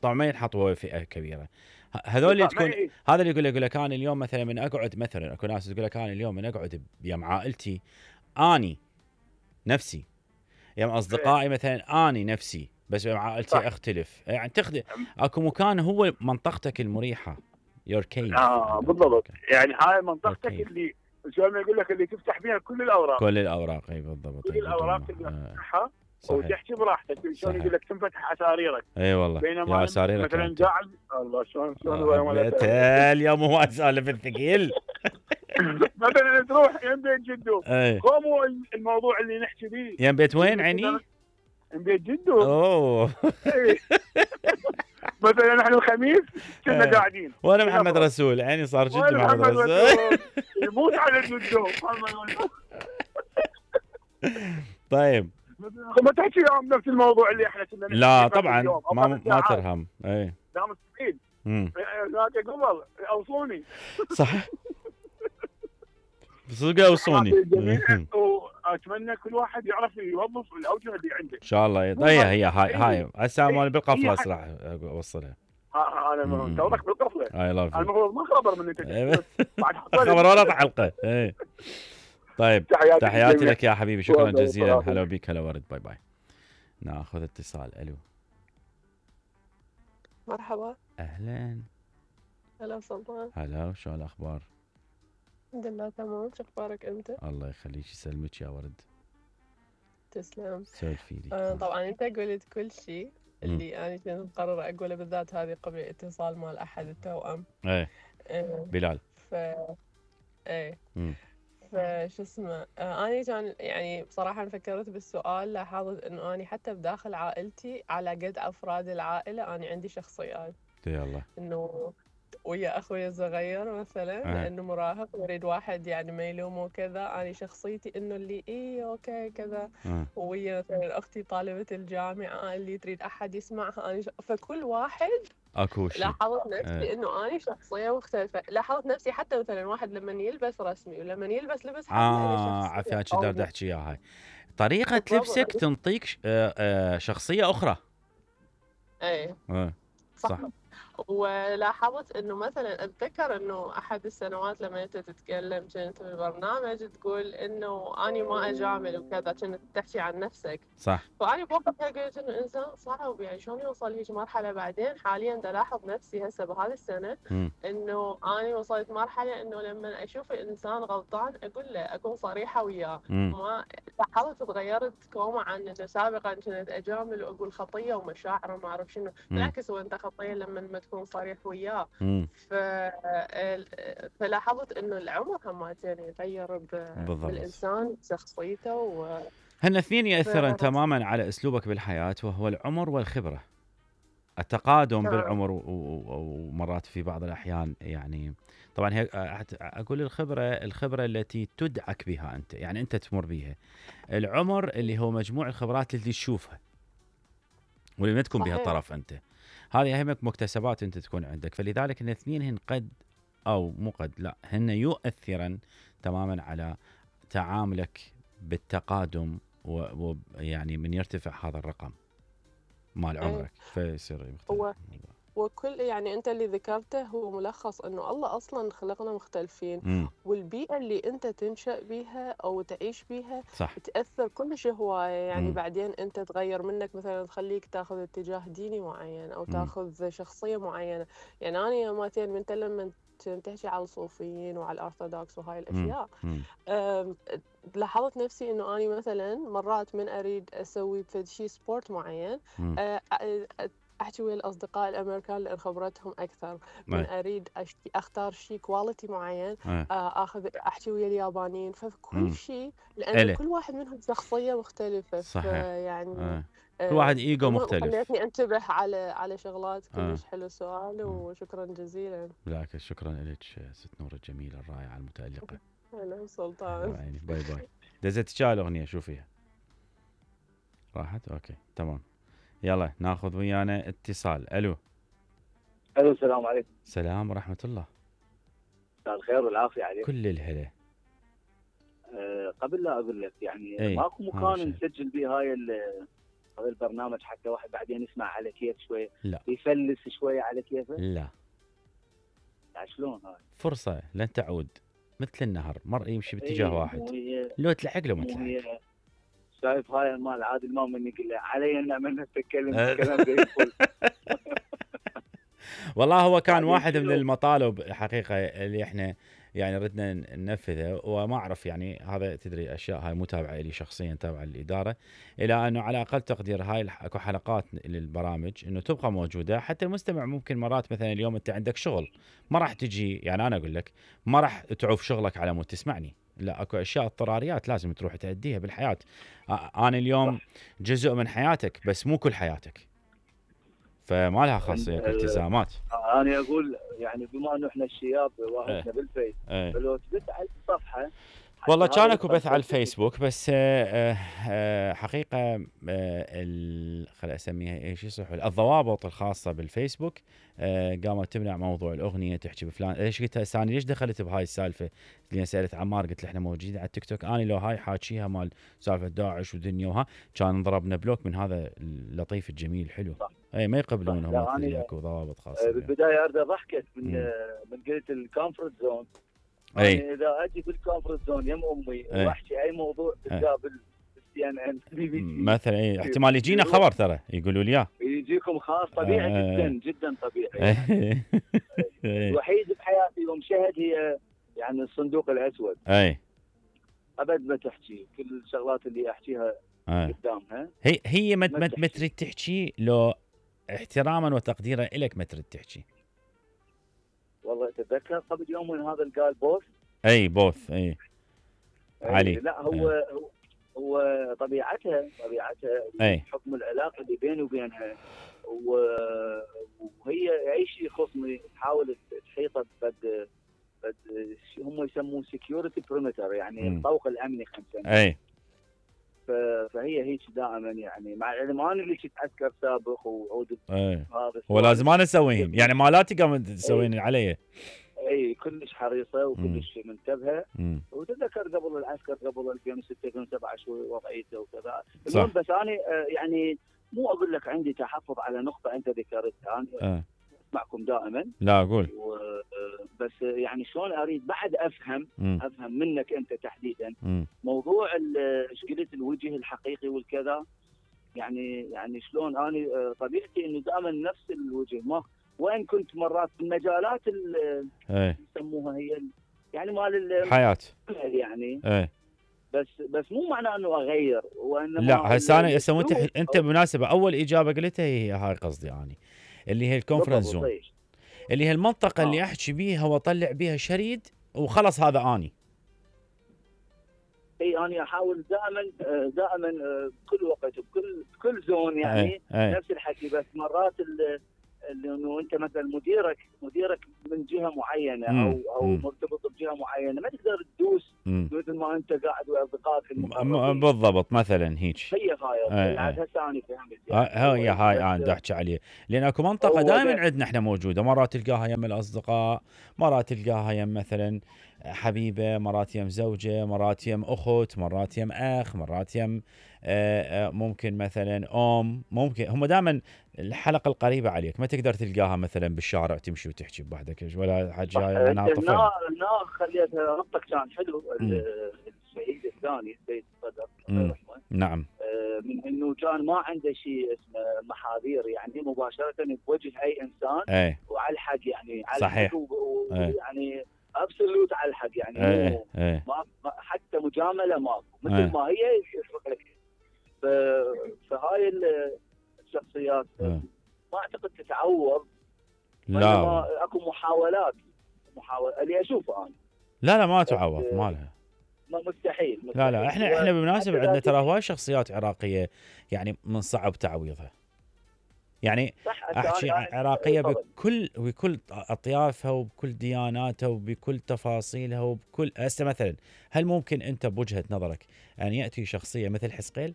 Speaker 1: طبعا ما ينحط هو فئه كبيره. ه- هذول اللي تكون
Speaker 3: إيه.
Speaker 1: هذا اللي يقول يقول لك انا اليوم مثلا من اقعد، مثلا اكو ناس تقول لك انا اليوم من اقعد يم عائلتي اني نفسي، يم اصدقائي مثلا اني نفسي، بس يم عائلتي
Speaker 3: صح.
Speaker 1: اختلف. يعني تخدم اكو مكان هو منطقتك المريحه، يور كيف.
Speaker 3: اه بالضبط، يعني هاي منطقتك
Speaker 1: أوكي.
Speaker 3: اللي شلون ما يقول لك اللي تفتح فيها كل الاوراق
Speaker 1: كل الاوراق. اي بالضبط.
Speaker 3: كل
Speaker 1: أي
Speaker 3: الاوراق
Speaker 1: بدون
Speaker 3: اللي
Speaker 1: ما- آه،
Speaker 3: تفتحها
Speaker 1: صحيح.
Speaker 3: وتحكي براحتك. شلون
Speaker 1: صحيح.
Speaker 3: يقول لك تنفتح اساريرك.
Speaker 1: اي والله
Speaker 3: بينما
Speaker 1: يا ساريرك
Speaker 3: مثلا
Speaker 1: أنت.
Speaker 3: قاعد الله شلون شلون هو
Speaker 1: آه،
Speaker 3: يوم ولا
Speaker 1: حبيت
Speaker 3: تعرف.
Speaker 1: اليوم هو سالف الثقيل.
Speaker 3: مثلا تروح يم بيت جدو
Speaker 1: اي
Speaker 3: قوموا الموضوع اللي نحكي فيه
Speaker 1: يم بيت وين عيني؟
Speaker 3: يم بيت جدو.
Speaker 1: اوه
Speaker 3: إيه. مثلا نحن الخميس كنا
Speaker 1: إيه.
Speaker 3: قاعدين
Speaker 1: وانا محمد رسول، عيني صار جد
Speaker 3: وين
Speaker 1: محمد
Speaker 3: محمد
Speaker 1: رسول.
Speaker 3: رسول؟ يموت على الجدو محمد.
Speaker 1: طيب
Speaker 3: ما تحكي يوم نفس الموضوع اللي احنا كنا نحكي
Speaker 1: لا
Speaker 3: فيه
Speaker 1: طبعا
Speaker 3: اليوم أو
Speaker 1: ما
Speaker 3: خمس
Speaker 1: ما
Speaker 3: ساعات.
Speaker 1: ترهم. اي
Speaker 3: لا مستحيل.
Speaker 1: امم
Speaker 3: ذاك قبل اوصوني
Speaker 1: صح صدق اوصوني.
Speaker 3: جميل. واتمنى كل واحد يعرف يوظف الاوجه اللي عنده.
Speaker 1: ان شاء الله. هي هي هاي هاي هسه مال بالقفله راح اوصلها.
Speaker 3: ها- انا
Speaker 1: مم.
Speaker 3: توك بالقفله.
Speaker 1: اي لاف
Speaker 3: أنا المفروض ما خبر من انت بعد
Speaker 1: خبر ولا حلقه. اي طيب
Speaker 3: تحياتي
Speaker 1: تحياتي
Speaker 3: للجميع.
Speaker 1: لك يا حبيبي، شكرا
Speaker 3: والله
Speaker 1: جزيلا.
Speaker 3: والله.
Speaker 1: هلا بك. هلا ورد. باي باي. ناخذ اتصال. الو
Speaker 4: مرحبا.
Speaker 1: اهلا.
Speaker 4: هلا سلطان.
Speaker 1: هلا وشو الاخبار؟
Speaker 4: الحمد لله تمام، شو اخبارك انت؟
Speaker 1: الله يخليك يسلمك يا ورد.
Speaker 4: تسلم.
Speaker 1: سولفي لي.
Speaker 4: آه طبعا انت قلت كل شيء اللي انا كنت مقررة اقوله، بالذات هذه قبل اتصال مال احد التوأم.
Speaker 1: ايه
Speaker 4: آه
Speaker 1: بلال.
Speaker 4: ف ايه
Speaker 1: مم.
Speaker 4: فشو اسمه آه انا كان يعني بصراحة أنا فكرت بالسؤال، لاحظت انه انا حتى بداخل عائلتي على قد افراد العائلة انا عندي شخصيات،
Speaker 1: يلا
Speaker 4: انه ويا اخوي الصغير مثلا
Speaker 1: آه.
Speaker 4: انه مراهق يريد واحد يعني ما يلومه وكذا، انا شخصيتي انه اللي ايه اوكي كذا.
Speaker 1: آه.
Speaker 4: ويا مثلا اختي طالبة الجامعة اللي تريد احد يسمعها، انا ش... فكل واحد
Speaker 1: اكو شيء.
Speaker 4: لاحظت نفسي
Speaker 1: آه.
Speaker 4: انه انا شخصية مختلفة. لاحظت نفسي حتى مثلا واحد لما يلبس رسمي ولما يلبس لبس حد
Speaker 1: اه عفياك
Speaker 4: أو-
Speaker 1: تقدر تحكي اياها. هاي طريقة
Speaker 4: بالضبط.
Speaker 1: لبسك تنطيك ش- آه، آه، شخصية أخرى.
Speaker 4: ايه
Speaker 1: آه،
Speaker 4: صح.
Speaker 1: صح.
Speaker 4: ولاحظت انه مثلا اتذكر انه احد السنوات لما انت تتكلم كنت بالبرنامج تقول انه اني ما اجامل وكذا، كنت تحكي عن نفسك.
Speaker 1: صح
Speaker 4: فاني بوقتها قلت انه انسان صعب يعني شلون يوصل هيك مرحله. بعدين حاليا دا لاحظ نفسي هسه بهذه السنه
Speaker 1: مم.
Speaker 4: انه اني وصلت مرحله انه لما اشوف الانسان غلطان اقول له، اكون صريحه وياه.
Speaker 1: مم.
Speaker 4: ما لاحظت تغيرت كوما عن انه سابقا كنت اجامل واقول خطيه ومشاعر وما اعرف شنو.
Speaker 1: مم.
Speaker 4: بالعكس هو انت خطيه لما ما تكون صريح وياه.
Speaker 1: مم.
Speaker 4: ف... فلاحظت انه العمر همتين يغير ب...
Speaker 1: بالضبط.
Speaker 4: بالانسان شخصيته و...
Speaker 1: هن اثنين يأثرن
Speaker 4: ف-
Speaker 1: تماما على أسلوبك بالحياة، وهو العمر والخبرة. التقادم
Speaker 4: نعم.
Speaker 1: بالعمر و- و- ومرات في بعض الاحيان يعني طبعا هي أحت- اقول الخبره الخبره التي تدعك بها انت، يعني انت تمر بها. العمر اللي هو مجموع الخبرات اللي تشوفها واللي ما تكون بها
Speaker 4: صحيح.
Speaker 1: طرف انت. هذه اهم مكتسبات انت تكون عندك، فلذلك ان الاثنين هن قد او مو قد لا هن يؤثرن تماما على تعاملك بالتقادم، ويعني من يرتفع هذا الرقم مال
Speaker 4: إيه.
Speaker 1: عمرك فيصير مختلف
Speaker 4: هو
Speaker 1: الموضوع.
Speaker 4: وكل يعني انت اللي ذكرته هو ملخص انه الله اصلا خلقنا مختلفين،
Speaker 1: امم
Speaker 4: والبيئة اللي انت تنشأ بيها او تعيش بيها
Speaker 1: صح.
Speaker 4: تأثر كلش هواية. يعني
Speaker 1: مم.
Speaker 4: بعدين انت تغير منك، مثلا تخليك تاخذ اتجاه ديني معين او
Speaker 1: مم.
Speaker 4: تاخذ شخصية معينة. يعني انا مثلا من لما تحكي على الصوفيين وعلى الارثوذكس وهاي
Speaker 1: مم.
Speaker 4: الاشياء،
Speaker 1: مم.
Speaker 4: أم، لاحظت نفسي انه اني مثلا مرات من اريد اسوي فد شي سبورت معين،
Speaker 1: مم.
Speaker 4: أه، أ- احكي ويا الاصدقاء الامريكان لان خبرتهم اكثر. من
Speaker 1: أي.
Speaker 4: اريد أشتي اختار شيء كواليتي معين،
Speaker 1: أي.
Speaker 4: آه، اخذ احكي ويا اليابانيين.
Speaker 1: مم.
Speaker 4: فكل شيء لان
Speaker 1: إله.
Speaker 4: كل واحد منهم شخصيه مختلفه،
Speaker 1: صحيح.
Speaker 4: فيعني
Speaker 1: أي. كل واحد ايجو
Speaker 4: المهم
Speaker 1: مختلف.
Speaker 4: خليتني انتبه على على شغلات.
Speaker 1: أي.
Speaker 4: كلش حلو السؤال
Speaker 1: أي.
Speaker 4: وشكرا جزيلا.
Speaker 1: بالعكس شكرا لك ست نور الجميله الرائعه المتالقه.
Speaker 4: هلا سلطان.
Speaker 1: عيني باي باي. دزت شال اغنيه شو فيها؟ راحت؟ اوكي تمام. يلا ناخذ ويانا اتصال. الو.
Speaker 5: الو السلام عليكم.
Speaker 1: سلام ورحمه الله.
Speaker 5: مساء الخير والعافيه عليك.
Speaker 1: كل الهلا.
Speaker 5: أه قبل لا اقول لك يعني
Speaker 1: أي.
Speaker 5: ماكو
Speaker 1: هذا
Speaker 5: مكان
Speaker 1: الشيء.
Speaker 5: نسجل به هاي ال- هذا البرنامج حتى واحد بعدين يسمع على كيف شوي،
Speaker 1: لا.
Speaker 5: يفلس شوي على كيفه؟
Speaker 1: لا،
Speaker 5: يعني شلون هاي؟
Speaker 1: فرصه لن تعود، مثل النهر مر يمشي باتجاه
Speaker 5: إيه،
Speaker 1: واحد،
Speaker 5: مو هي
Speaker 1: لو تلحق له ما
Speaker 5: مو
Speaker 1: تلحق.
Speaker 5: هي شايف هاي مال عادل ما من يقول له علي ان من نتكلم
Speaker 1: أه.
Speaker 5: الكلام ده يقول.
Speaker 1: والله هو كان
Speaker 5: بعدين
Speaker 1: واحد من
Speaker 5: شنو؟
Speaker 1: المطالب حقيقة اللي احنا يعني ردنا ننفذه، وما اعرف يعني هذا تدري اشياء هاي مو تابعه لي شخصيا، تابعه للاداره، الى انه على اقل تقدير هاي الح- اكو حلقات للبرامج انه تبقى موجوده حتى المستمع. ممكن مرات مثلا اليوم انت عندك شغل ما راح تجي، يعني انا اقول لك ما راح تعوف شغلك على مود تسمعني، لا اكو اشياء اضطراريات لازم تروح تأديها بالحياه. آ- انا اليوم جزء من حياتك بس مو كل حياتك، فما لها خاصيه
Speaker 5: ال-
Speaker 1: التزامات.
Speaker 5: انا اقول يعني بما انه احنا الشياب واحنا بالفيس،
Speaker 1: ايه.
Speaker 5: فلو تبث على الصفحه
Speaker 1: والله
Speaker 5: حتى
Speaker 1: كان
Speaker 5: هذا
Speaker 1: اكو بث على
Speaker 5: التنفيذ.
Speaker 1: الفيسبوك بس آه، آه، حقيقه آه، ال- خل اسميها ايش يصح الضوابط الخاصه بالفيسبوك آه، قامت تمنع موضوع الاغنيه تحكي بفلان. ليش قلت هسه انا ليش دخلت بهاي السالفه؟ اللي سالت عمار قلت له احنا موجودين على التيك توك، انا لو هاي حاكيها مال سالفه داعش ودنيا وها كان ضربنا بلوك من هذا اللطيف الجميل الحلو.
Speaker 5: صح.
Speaker 1: اي ما يقبلون هم
Speaker 5: لا، أنا-
Speaker 1: اللي اكو ضوابط
Speaker 5: آه،
Speaker 1: خاصه.
Speaker 5: بالبدايه ارد ضحكت من
Speaker 1: مم.
Speaker 5: آه، من قلت الكومفورت زون.
Speaker 1: اي
Speaker 5: يعني اذا اجي بالكومفورت زون يم امي
Speaker 1: أي.
Speaker 5: واحكي اي موضوع تلقاه بالسي ان ان بي بي سي
Speaker 1: مثلا اي احتمال يجينا خبر ترى يقولوا لي اياه.
Speaker 5: يجيكم خاص طبيعي
Speaker 1: آه.
Speaker 5: جدا جدا طبيعي.
Speaker 1: اي
Speaker 5: الوحيد بحياتي يوم شهد هي يعني الصندوق الاسود،
Speaker 1: اي
Speaker 5: ابد ما تحكي كل الشغلات اللي احكيها
Speaker 1: آه.
Speaker 5: قدامها.
Speaker 1: هي هي ما
Speaker 5: ما
Speaker 1: ما
Speaker 5: تحكي.
Speaker 1: ما تريد تحكي لو احتراما وتقديرا لك ما تريد تحكي.
Speaker 5: والله اتذكر قبل يوم من هذا اللي قال بوس
Speaker 1: اي بوث اي علي.
Speaker 5: لا هو هو- هو طبيعتها طبيعتها
Speaker 1: اي
Speaker 5: حكم العلاقه اللي بيني وبينها، و- وهي اي شيء يخصني تحاول تحيطه بد بد شو هم يسموه سكيورتي بريمتر، يعني
Speaker 1: مم.
Speaker 5: الطوق الامني خمسة سنين.
Speaker 1: اي
Speaker 5: ف- فهي هيك دائما، يعني مع العلم انا اللي كنت عسكر سابق وعود
Speaker 1: اي
Speaker 5: هذا
Speaker 1: هو لازم انا اسويهم، يعني مالاتي قام تسوين علي.
Speaker 5: اي كلش حريصه
Speaker 1: مم.
Speaker 5: وكلش منتبهه.
Speaker 1: مم.
Speaker 5: وتتذكر قبل العسكر قبل ألفين وستة ألفين وسبعة شو وضعيته وكذا.
Speaker 1: صح.
Speaker 5: المهم بس انا آه، يعني مو اقول لك عندي تحفظ على نقطه انت ذكرتها، انا
Speaker 1: آه.
Speaker 5: اسمعكم دائما
Speaker 1: لا اقول.
Speaker 5: و- آه، بس يعني شلون اريد بعد افهم
Speaker 1: مم.
Speaker 5: افهم منك انت تحديدا
Speaker 1: مم.
Speaker 5: موضوع ال- ايش قلت الوجه الحقيقي والكذا. يعني يعني شلون انا آه، طبيعتي انه دائما نفس الوجه، ما وان كنت مرات في المجالات اللي
Speaker 1: اي
Speaker 5: يسموها هي ال- يعني مال ال-
Speaker 1: حياه.
Speaker 5: يعني
Speaker 1: اي
Speaker 5: بس بس مو معناه انه اغير، وانما
Speaker 1: لا هسه انا هسه انت
Speaker 5: الأسلوب
Speaker 1: انت
Speaker 5: أو-
Speaker 1: بالمناسبه اول اجابه قلتها هي هاي قصدي اني اللي هي الكونفرنس
Speaker 5: بالضبط،
Speaker 1: زون،
Speaker 5: طيب.
Speaker 1: اللي هي المنطقه
Speaker 5: آه.
Speaker 1: اللي احكي بيها واطلع بيها شريد وخلص هذا اني.
Speaker 5: اي انا احاول دائما دائما بكل وقت وبكل بكل زون يعني
Speaker 1: أي. أي.
Speaker 5: نفس الحكي. بس مرات انه انت مثلا مديرك مديرك من جهه معينه
Speaker 1: مم.
Speaker 5: او او
Speaker 1: مم.
Speaker 5: مرتبط بجهه معينه، ما تقدر تدوس
Speaker 1: مم.
Speaker 5: مثل ما انت قاعد ويا اصدقائك
Speaker 1: م-
Speaker 5: المقربين.
Speaker 1: بالضبط مثلا هيك.
Speaker 5: هي هاي
Speaker 1: أي.
Speaker 5: عاد
Speaker 1: أي.
Speaker 5: هسه انا فهمت
Speaker 1: ها-
Speaker 5: يعني.
Speaker 1: هي هاي انا بدي احكي عليه، لان اكو منطقه
Speaker 5: هو
Speaker 1: دائما
Speaker 5: ده.
Speaker 1: عندنا احنا موجوده، مرات تلقاها يم الاصدقاء، مرات تلقاها يم مثلا حبيبه، مرات يم زوجه، مرات يم اخت، مرات يم اخ، مرات يم آه، آه، ممكن مثلا ام، ممكن هم دائما الحلقه القريبه عليك، ما تقدر تلقاها مثلا بالشارع تمشي وتحكي بوحدك ولا حد جاي عنها طفل.
Speaker 5: النار النار خليتها ربطك كان حلو.
Speaker 1: مم.
Speaker 5: الشهيد الثاني السيد صدر
Speaker 1: مم.
Speaker 5: الله يرحمه،
Speaker 1: نعم.
Speaker 5: آه، من انه كان ما عنده شيء اسمه محاذير، يعني مباشره بوجه اي انسان
Speaker 1: اي
Speaker 5: وعلى الحق، يعني على
Speaker 1: صحيح.
Speaker 5: الحق و-
Speaker 1: إيه.
Speaker 5: ويعني ابسولوت على الحق، يعني
Speaker 1: اي
Speaker 5: مو
Speaker 1: اي
Speaker 5: ما ما- حتى مجامله ماكو، مثل
Speaker 1: إيه.
Speaker 5: ما هي يفرق لك. ف- فهاي ال- الشخصيات
Speaker 1: إيه.
Speaker 5: ما اعتقد تتعوض،
Speaker 1: لا
Speaker 5: وإنما اكو محاولات محاولة اللي اشوفه انا.
Speaker 1: لا لا ما تعوض، ما لها.
Speaker 5: ما مستحيل, مستحيل.
Speaker 1: لا لا احنا احنا بالمناسبه
Speaker 5: حتى
Speaker 1: عندنا
Speaker 5: ذاك
Speaker 1: ترى
Speaker 5: الشيء.
Speaker 1: هواي شخصيات عراقيه يعني من صعب تعويضها. يعني
Speaker 5: صح،
Speaker 1: احكي
Speaker 5: أنا-
Speaker 1: عن
Speaker 5: أنا-
Speaker 1: عراقيه
Speaker 5: طبعاً.
Speaker 1: بكل بكل اطيافها وبكل دياناتها وبكل تفاصيلها وبكل هسه مثلا، هل ممكن انت بوجهه نظرك ان ياتي شخصيه مثل حزقيل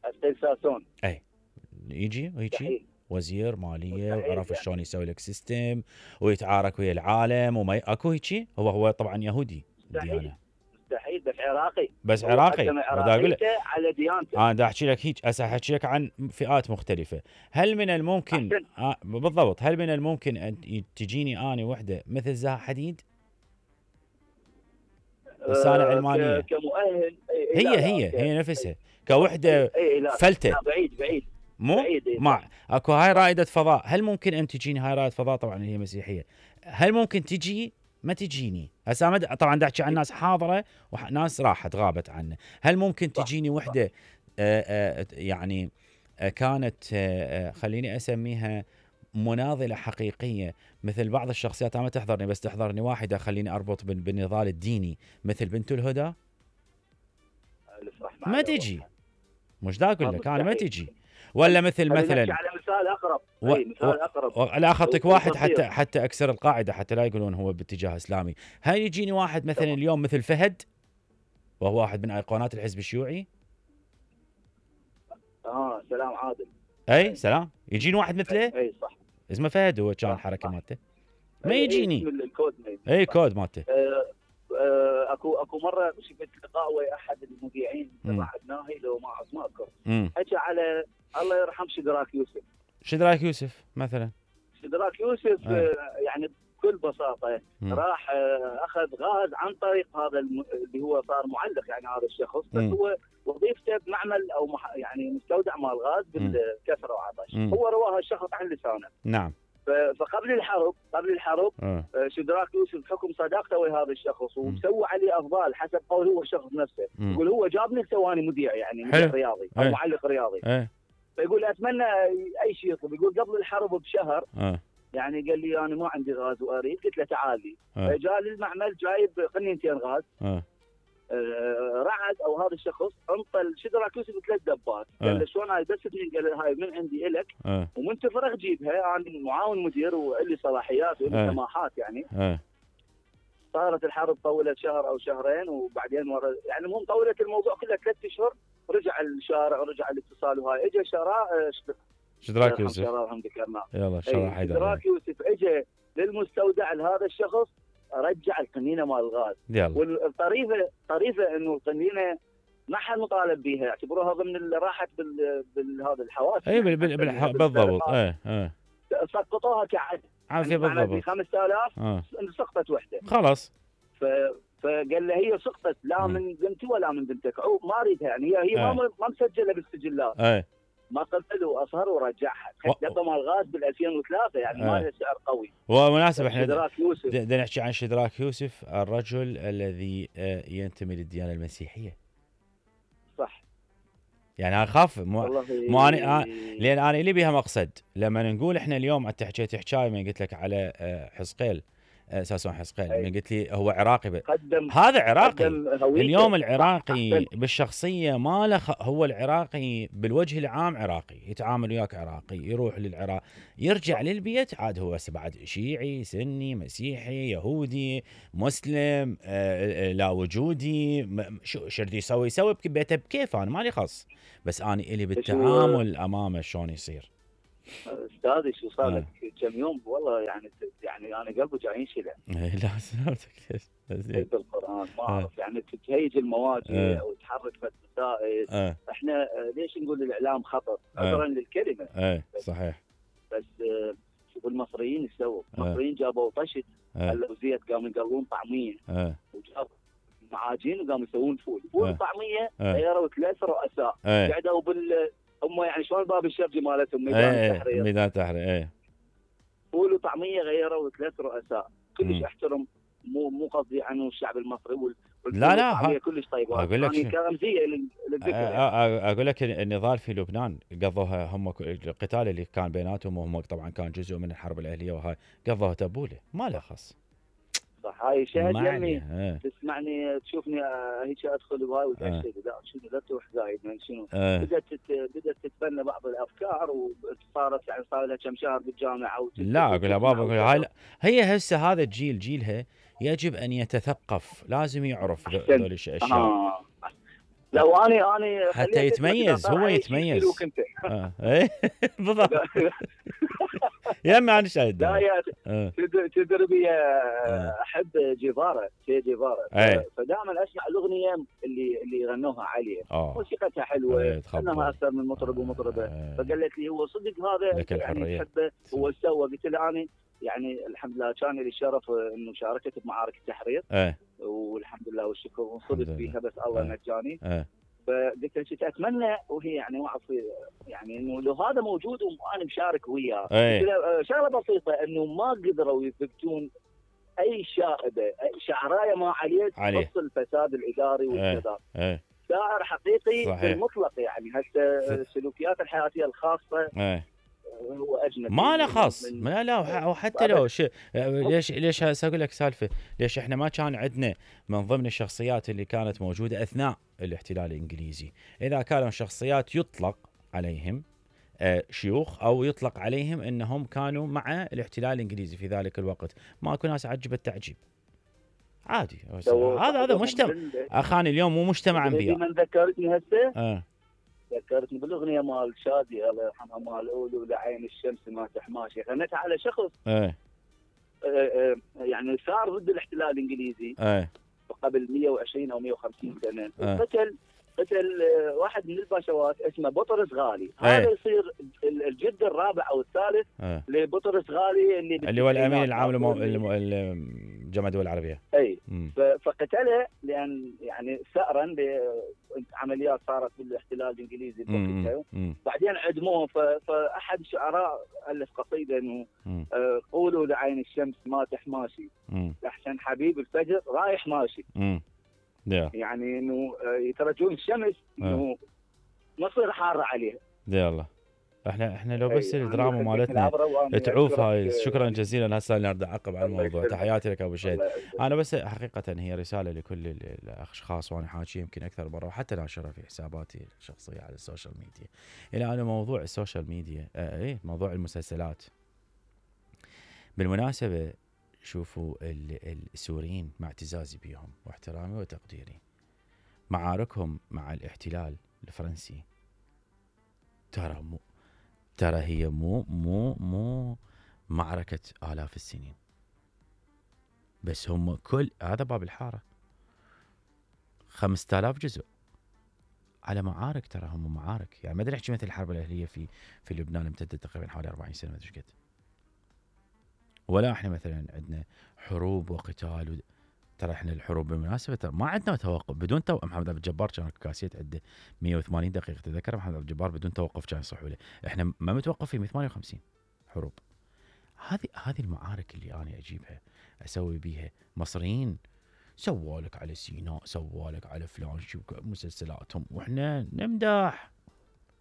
Speaker 5: حزقيل ساسون
Speaker 1: يجي وهيجي
Speaker 5: مستحيل.
Speaker 1: وزير ماليه
Speaker 5: مستحيل
Speaker 1: وعرف
Speaker 5: يعني.
Speaker 1: شلون يسوي لك سيستم ويتعارك ويا العالم وما ي... اكو هيجي؟ هو هو طبعا يهودي
Speaker 5: مستحيل.
Speaker 1: ديانه،
Speaker 5: مستحيل، بس عراقي.
Speaker 1: بس
Speaker 5: هو
Speaker 1: عراقي.
Speaker 5: قدم
Speaker 1: بدي اقول لك
Speaker 5: عراقيته على ديانته.
Speaker 1: انا بدي احكي لك هيك، هسه احكي لك عن فئات مختلفه. هل من الممكن
Speaker 5: أحسن.
Speaker 1: آه بالضبط، هل من الممكن ان تجيني اني وحده مثل زها حديد انسانه
Speaker 5: آه،
Speaker 1: علمانيه؟
Speaker 5: ك- كمؤهل إي- إي،
Speaker 1: هي
Speaker 5: لا، لا،
Speaker 1: هي
Speaker 5: ك-
Speaker 1: هي نفسها كوحده
Speaker 5: إي- إي، لا،
Speaker 1: فلته،
Speaker 5: لا، بعيد بعيد
Speaker 1: مو
Speaker 5: بعيد، إي،
Speaker 1: مع
Speaker 5: صح.
Speaker 1: اكو هاي رائده فضاء. هل ممكن ان تجيني هاي رائده فضاء؟ طبعا هي مسيحيه. هل ممكن تجي؟ ما تجيني. هسه مد- طبعا دا احكي عن ناس حاضره وناس راحت غابت عنه. هل ممكن
Speaker 5: صح،
Speaker 1: تجيني وحده آه آه يعني آه كانت آه آه خليني اسميها مناضله حقيقيه مثل بعض الشخصيات؟ انا ما تحضرني بس تحضرني واحده خليني اربط بال- بالنضال الديني مثل بنت الهدى.
Speaker 5: ألف رحمة
Speaker 1: ما
Speaker 5: على
Speaker 1: تجي،
Speaker 5: روحها.
Speaker 1: مش دا اقول
Speaker 5: ما
Speaker 1: لك انا ما
Speaker 5: مستحيل.
Speaker 1: تجي. ولا مثل
Speaker 5: خلينا نحكي
Speaker 1: مثلا
Speaker 5: على مثال اقرب.
Speaker 1: و...
Speaker 5: إي، مثال اقرب.
Speaker 1: و... لا اخذتك واحد
Speaker 5: والبصير.
Speaker 1: حتى حتى اكسر القاعده حتى لا يقولون هو باتجاه اسلامي. هاي يجيني واحد مثلا
Speaker 5: طبعا.
Speaker 1: اليوم مثل فهد، وهو واحد من ايقونات الحزب الشيوعي.
Speaker 5: اه سلام عادل.
Speaker 1: اي سلام، يجيني واحد مثله
Speaker 5: اي صح.
Speaker 1: اسمه فهد، هو كان
Speaker 5: صح،
Speaker 1: الحركه
Speaker 5: صح.
Speaker 1: مالته ما
Speaker 5: إي، إي،
Speaker 1: يجيني.
Speaker 5: اسم الكود ما يجي.
Speaker 1: اي
Speaker 5: صح.
Speaker 1: كود مالته.
Speaker 5: آه، آه، اكو اكو مره شفت لقاء ويا احد المذيعين
Speaker 1: مم.
Speaker 5: تبع الناهي لو ما ما اذكر،
Speaker 1: امم
Speaker 5: حكى على الله يرحم شدراك يوسف.
Speaker 1: شدراك يوسف مثلا.
Speaker 5: شدراك يوسف
Speaker 1: آه.
Speaker 5: آه، يعني بكل بساطه
Speaker 1: مم.
Speaker 5: راح آه، اخذ غاز عن طريق هذا الم... اللي هو صار معلق، يعني هذا الشخص، بس
Speaker 1: مم.
Speaker 5: هو وظيفته بمعمل او مح... يعني مستودع مال غاز بالكسره وعطش.
Speaker 1: مم.
Speaker 5: هو رواها الشخص عن لسانه.
Speaker 1: نعم.
Speaker 5: ف- فقبل الحرب قبل الحرب
Speaker 1: آه.
Speaker 5: آه، شدراك يوسف بحكم صداقته ويا هذا الشخص
Speaker 1: مم.
Speaker 5: وسوى عليه افضال حسب قول هو الشخص نفسه.
Speaker 1: مم.
Speaker 5: يقول هو جابني سواني مذيع، يعني
Speaker 1: حلو.
Speaker 5: مذيع رياضي او
Speaker 1: أي.
Speaker 5: معلق رياضي.
Speaker 1: ايه
Speaker 5: فيقول اتمنى اي شيء يطلب. يقول قبل الحرب بشهر
Speaker 1: اه
Speaker 5: يعني قال لي انا ما عندي غاز واريد، قلت له تعال لي.
Speaker 1: آه.
Speaker 5: فجاء للمعمل جايب قنينتين غاز.
Speaker 1: اه
Speaker 5: آه، رعد او هذا الشخص انطى شدراك يوسف ثلاث دبات.
Speaker 1: آه.
Speaker 5: قال له شلون هاي؟ بس اثنين. قال له هاي من عندي الك
Speaker 1: اه
Speaker 5: ومن تفرغ جيبها، انا معاون مدير والي صلاحيات والي
Speaker 1: آه.
Speaker 5: سماحات يعني.
Speaker 1: اه
Speaker 5: صارت الحرب طولت شهر او شهرين وبعدين ورا يعني المهم طولت الموضوع كله ثلاث اشهر. رجع الشارع ورجع الاتصال وهاي اجى شراء
Speaker 1: شدراك يوسف.
Speaker 5: شراهم ذكرناه.
Speaker 1: يلا شرح حيدر.
Speaker 5: شدراك يوسف اجى للمستودع لهذا الشخص، رجع القنينه مال الغاز.
Speaker 1: يلا
Speaker 5: والطريفه طريفه انه القنينه ما حد مطالب بها، يعتبروها ضمن اللي راحت بال بهذا الحواس.
Speaker 1: اي بال... بال... بال... بالضبط. ايه ايه
Speaker 5: سقطوها كعد
Speaker 1: عافيه
Speaker 5: معناته ب
Speaker 1: بالضبط.
Speaker 5: خمسة آلاف
Speaker 1: اه
Speaker 5: سقطت وحده.
Speaker 1: خلاص.
Speaker 5: ف... فقال له هي سقطت لا
Speaker 1: مم.
Speaker 5: من بنتي ولا من بنتك، عو ما اريدها يعني. هي هي
Speaker 1: آه.
Speaker 5: ما ما مسجله بالسجلات.
Speaker 1: ايه
Speaker 5: ما قبل واصهر ورجعها.
Speaker 1: و-
Speaker 5: دبه مال غاز بال ألفين وثلاثة يعني ما
Speaker 1: آه.
Speaker 5: لها سعر قوي.
Speaker 1: ومناسب احنا
Speaker 5: شدراك يوسف.
Speaker 1: بدنا نحكي عن شدراك يوسف، الرجل الذي آه، ينتمي للديانه المسيحيه.
Speaker 5: صح
Speaker 1: يعني انا اخاف مو
Speaker 5: والله.
Speaker 1: مو أنا لان انا لي بها مقصد. لما نقول احنا اليوم انت حكيت حكايه من قلت لك على آه، حزقيل ساسون حسقيل
Speaker 5: أي.
Speaker 1: من قلت لي هو عراقي ب...
Speaker 5: قدم
Speaker 1: هذا عراقي.
Speaker 5: قدم هويته.
Speaker 1: اليوم العراقي
Speaker 5: أحسنت.
Speaker 1: بالشخصيه ما له خ... هو العراقي بالوجه العام عراقي، يتعامل وياك عراقي، يروح للعراق، يرجع للبيت عاد هو بعد شيعي سني مسيحي يهودي مسلم آه لا وجودي م... شو شردي يسوي يسوي ببيته بكيف، انا مالي خص، بس انا الي بالتعامل امامه شلون يصير.
Speaker 5: استاذي شو صار لك كم يوم والله يعني يعني انا قلبي جاي ينشلع.
Speaker 1: لا سلامتك ليش؟
Speaker 5: بالقران ما اعرف يعني تهيج المواجهه او تحرك مسائل.
Speaker 1: أه.
Speaker 5: احنا ليش نقول الاعلام خطر؟ عذرا
Speaker 1: أه.
Speaker 5: للكلمه.
Speaker 1: ايه صحيح.
Speaker 5: بس شوف المصريين ايش سووا؟ المصريين جابوا طشت خلوا زيت قاموا يقلون طعميه.
Speaker 1: أه.
Speaker 5: وجابوا معاجين وقاموا يسوون فول، فول
Speaker 1: أه.
Speaker 5: طعميه
Speaker 1: أه.
Speaker 5: غيروا ثلاث رؤساء.
Speaker 1: أه.
Speaker 5: قعدوا بال هم يعني شلون باب الشرجي مالتهم ميدان
Speaker 1: ايه
Speaker 5: التحرير.
Speaker 1: ميدان التحرير ايه.
Speaker 5: فول وطعميه غيروا ثلاث رؤساء، كلش
Speaker 1: مم.
Speaker 5: احترم مو مو قصدي عنه الشعب المصري وال
Speaker 1: لا لا ها
Speaker 5: كلش طيبه.
Speaker 1: اقول لك
Speaker 5: يعني كرمزيه للذكر.
Speaker 1: يعني. اقول لك النضال في لبنان قضوها هم القتال اللي كان بيناتهم، وهم طبعا كان جزء من الحرب الاهليه، وهاي قضوها تبوله ما له خص.
Speaker 5: صح هاي شاهد يمي
Speaker 1: اه.
Speaker 5: تسمعني تشوفني هيك ادخل بهاي وتاكد لا شنو لا تروح زايد من شنو.
Speaker 1: اه.
Speaker 5: بدات بدات تتبنى بعض الافكار وصارت يعني صار لها كم شهر بالجامعه.
Speaker 1: لا اقول يا بابا اقول هاي هي هسه هذا الجيل جيلها يجب ان يتثقف، لازم يعرف ذول الاشياء.
Speaker 5: آه. لو اني اني
Speaker 1: حتى يتميز هو يتميز. اه ايه بالضبط. يا ما انا شاهد.
Speaker 5: لا يا تدري بي احب جيفارا سي جيفارا. فدائما اسمع الاغنيه اللي اللي غنوها عليه موسيقتها حلوه انها اكثر من مطرب ومطربه.
Speaker 1: اه.
Speaker 5: فقالت لي هو صدق هذا يعني تحبه هو سوى. قلت له اني يعني الحمد لله كان لي الشرف انه شاركت بمعارك التحرير.
Speaker 1: اه.
Speaker 5: والحمد لله والشكر وصدق فيها بس الله
Speaker 1: اه.
Speaker 5: نجاني.
Speaker 1: اه.
Speaker 5: فقلت كنت اتمنى وهي يعني ما اعرف يعني انه لو هذا موجود وانا مشارك وياه. شغله بسيطه انه ما قدروا يثبتون اي شائبه اي شعرايه ما عليه تخص الفساد الاداري والكذا.
Speaker 1: ايه.
Speaker 5: شاعر حقيقي
Speaker 1: صحيح.
Speaker 5: بالمطلق يعني حتى السلوكيات الحياتيه الخاصه.
Speaker 1: ايه.
Speaker 5: هو اجنبي
Speaker 1: ما له خاص. لا لا وحتى لو ش... ليش ليش اقول لك سالفه ليش احنا ما كان عندنا من ضمن الشخصيات اللي كانت موجوده اثناء الاحتلال الانجليزي، اذا كانوا شخصيات يطلق عليهم شيوخ او يطلق عليهم انهم كانوا مع الاحتلال الانجليزي في ذلك الوقت، ماكو ناس عجب التعجيب عادي. هذا هذا مجتمع اخاني اليوم مو مجتمع انبياء.
Speaker 5: من ذكرتني هسه
Speaker 1: اه.
Speaker 5: ذكرتني بالاغنيه مال شادي الله يرحمها مال اولو لعين الشمس ما تحماشي، غنتها على شخص
Speaker 1: ايه.
Speaker 5: يعني صار ضد الاحتلال الانجليزي
Speaker 1: ايه.
Speaker 5: قبل مية وعشرين او مية وخمسين سنه.
Speaker 1: ايه.
Speaker 5: قتل قتل واحد من الباشوات اسمه بطرس غالي.
Speaker 1: ايه.
Speaker 5: هذا يصير الجد الرابع او الثالث
Speaker 1: ايه.
Speaker 5: لبطرس غالي اللي
Speaker 1: اللي هو الامين العام لجامعه الدول العربيه.
Speaker 5: اي. فقتله لان يعني ثأرا بعمليات صارت بالاحتلال الانجليزي بوقتها. بعدين عدموه. فاحد الشعراء الف قصيده انه آه قولوا لعين الشمس ما تحماشي احسن حبيب الفجر رايح ماشي.
Speaker 1: مم.
Speaker 5: يعني انه يترجون الشمس انه مصير حاره عليها.
Speaker 1: يلا احنا احنا لو بس الدراما مالتنا تعوف هاي. شكرا جزيلا. هسه نرد اعقب على الموضوع. تحياتي لك ابو شهيد. انا بس حقيقه هي رساله لكل الاشخاص وانا حاكي يمكن اكثر مره وحتى ناشرها في حساباتي الشخصيه على السوشيال ميديا الى ان موضوع السوشيال ميديا اه ايه موضوع المسلسلات. بالمناسبه شوفوا السوريين مع اعتزازي بيهم واحترامي وتقديري معاركهم مع الاحتلال الفرنسي ترى مو ترى هي مو مو مو معركة آلاف السنين، بس هم كل هذا باب الحارة خمسة آلاف جزء على معارك. ترى هم معارك يعني ما ادري احكي مثل الحرب الأهلية في في لبنان امتدت تقريبا حوالي أربعين سنة ما ادري قد. ولا احنا مثلا عندنا حروب وقتال و... ترى احنا الحروب بالمناسبه ترى ما عندنا توقف بدون توقف. محمد عبد الجبار كان كاسيت عنده مية وثمانين دقيقه تذكر محمد عبد الجبار بدون توقف كان يصحوا له. احنا ما متوقفين من ثمانية وخمسين حروب. هذه هذه المعارك اللي انا اجيبها اسوي بيها. مصريين سوالك على سيناء سوالك على فلان شو مسلسلاتهم واحنا نمدح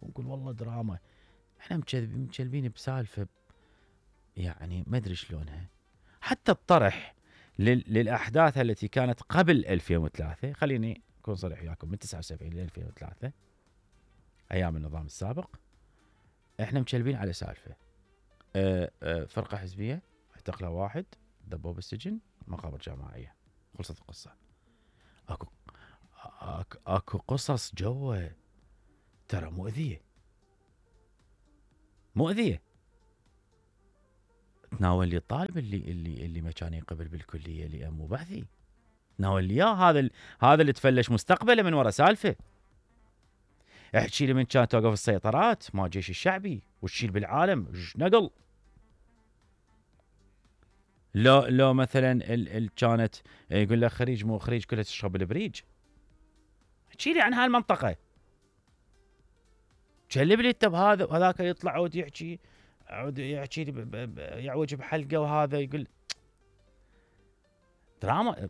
Speaker 1: ونقول والله دراما. احنا مكذبين بسالفه يعني ما ادري شلونها. حتى الطرح للاحداث التي كانت قبل ألفين وثلاثة. خليني اكون صريح وياكم، من تسعة وسبعين ل ألفين وثلاثة ايام النظام السابق احنا مكلبين على سالفه أه أه فرقه حزبيه اعتقلها واحد، دبوه بالسجن، مقابر جماعيه، خلصت القصه. اكو اكو, أكو قصص جوه ترى مؤذيه مؤذيه. تناول لي الطالب اللي اللي اللي ما كان يقبل بالكليه اللي امه بحثي، تناول لي اياه، هذا هذا اللي تفلش مستقبله من ورا سالفه. احكي لي من كانت توقف السيطرات مع الجيش الشعبي وتشيل بالعالم ايش نقل. لو لو مثلا ال ال كانت يقول لك خريج مو خريج كلها تشرب البريج. احكي لي عن هالمنطقه، كلب لي انت بهذا وهذاك يطلع عود يحكي عود يحكي لي يعوج بحلقه، وهذا يقول دراما.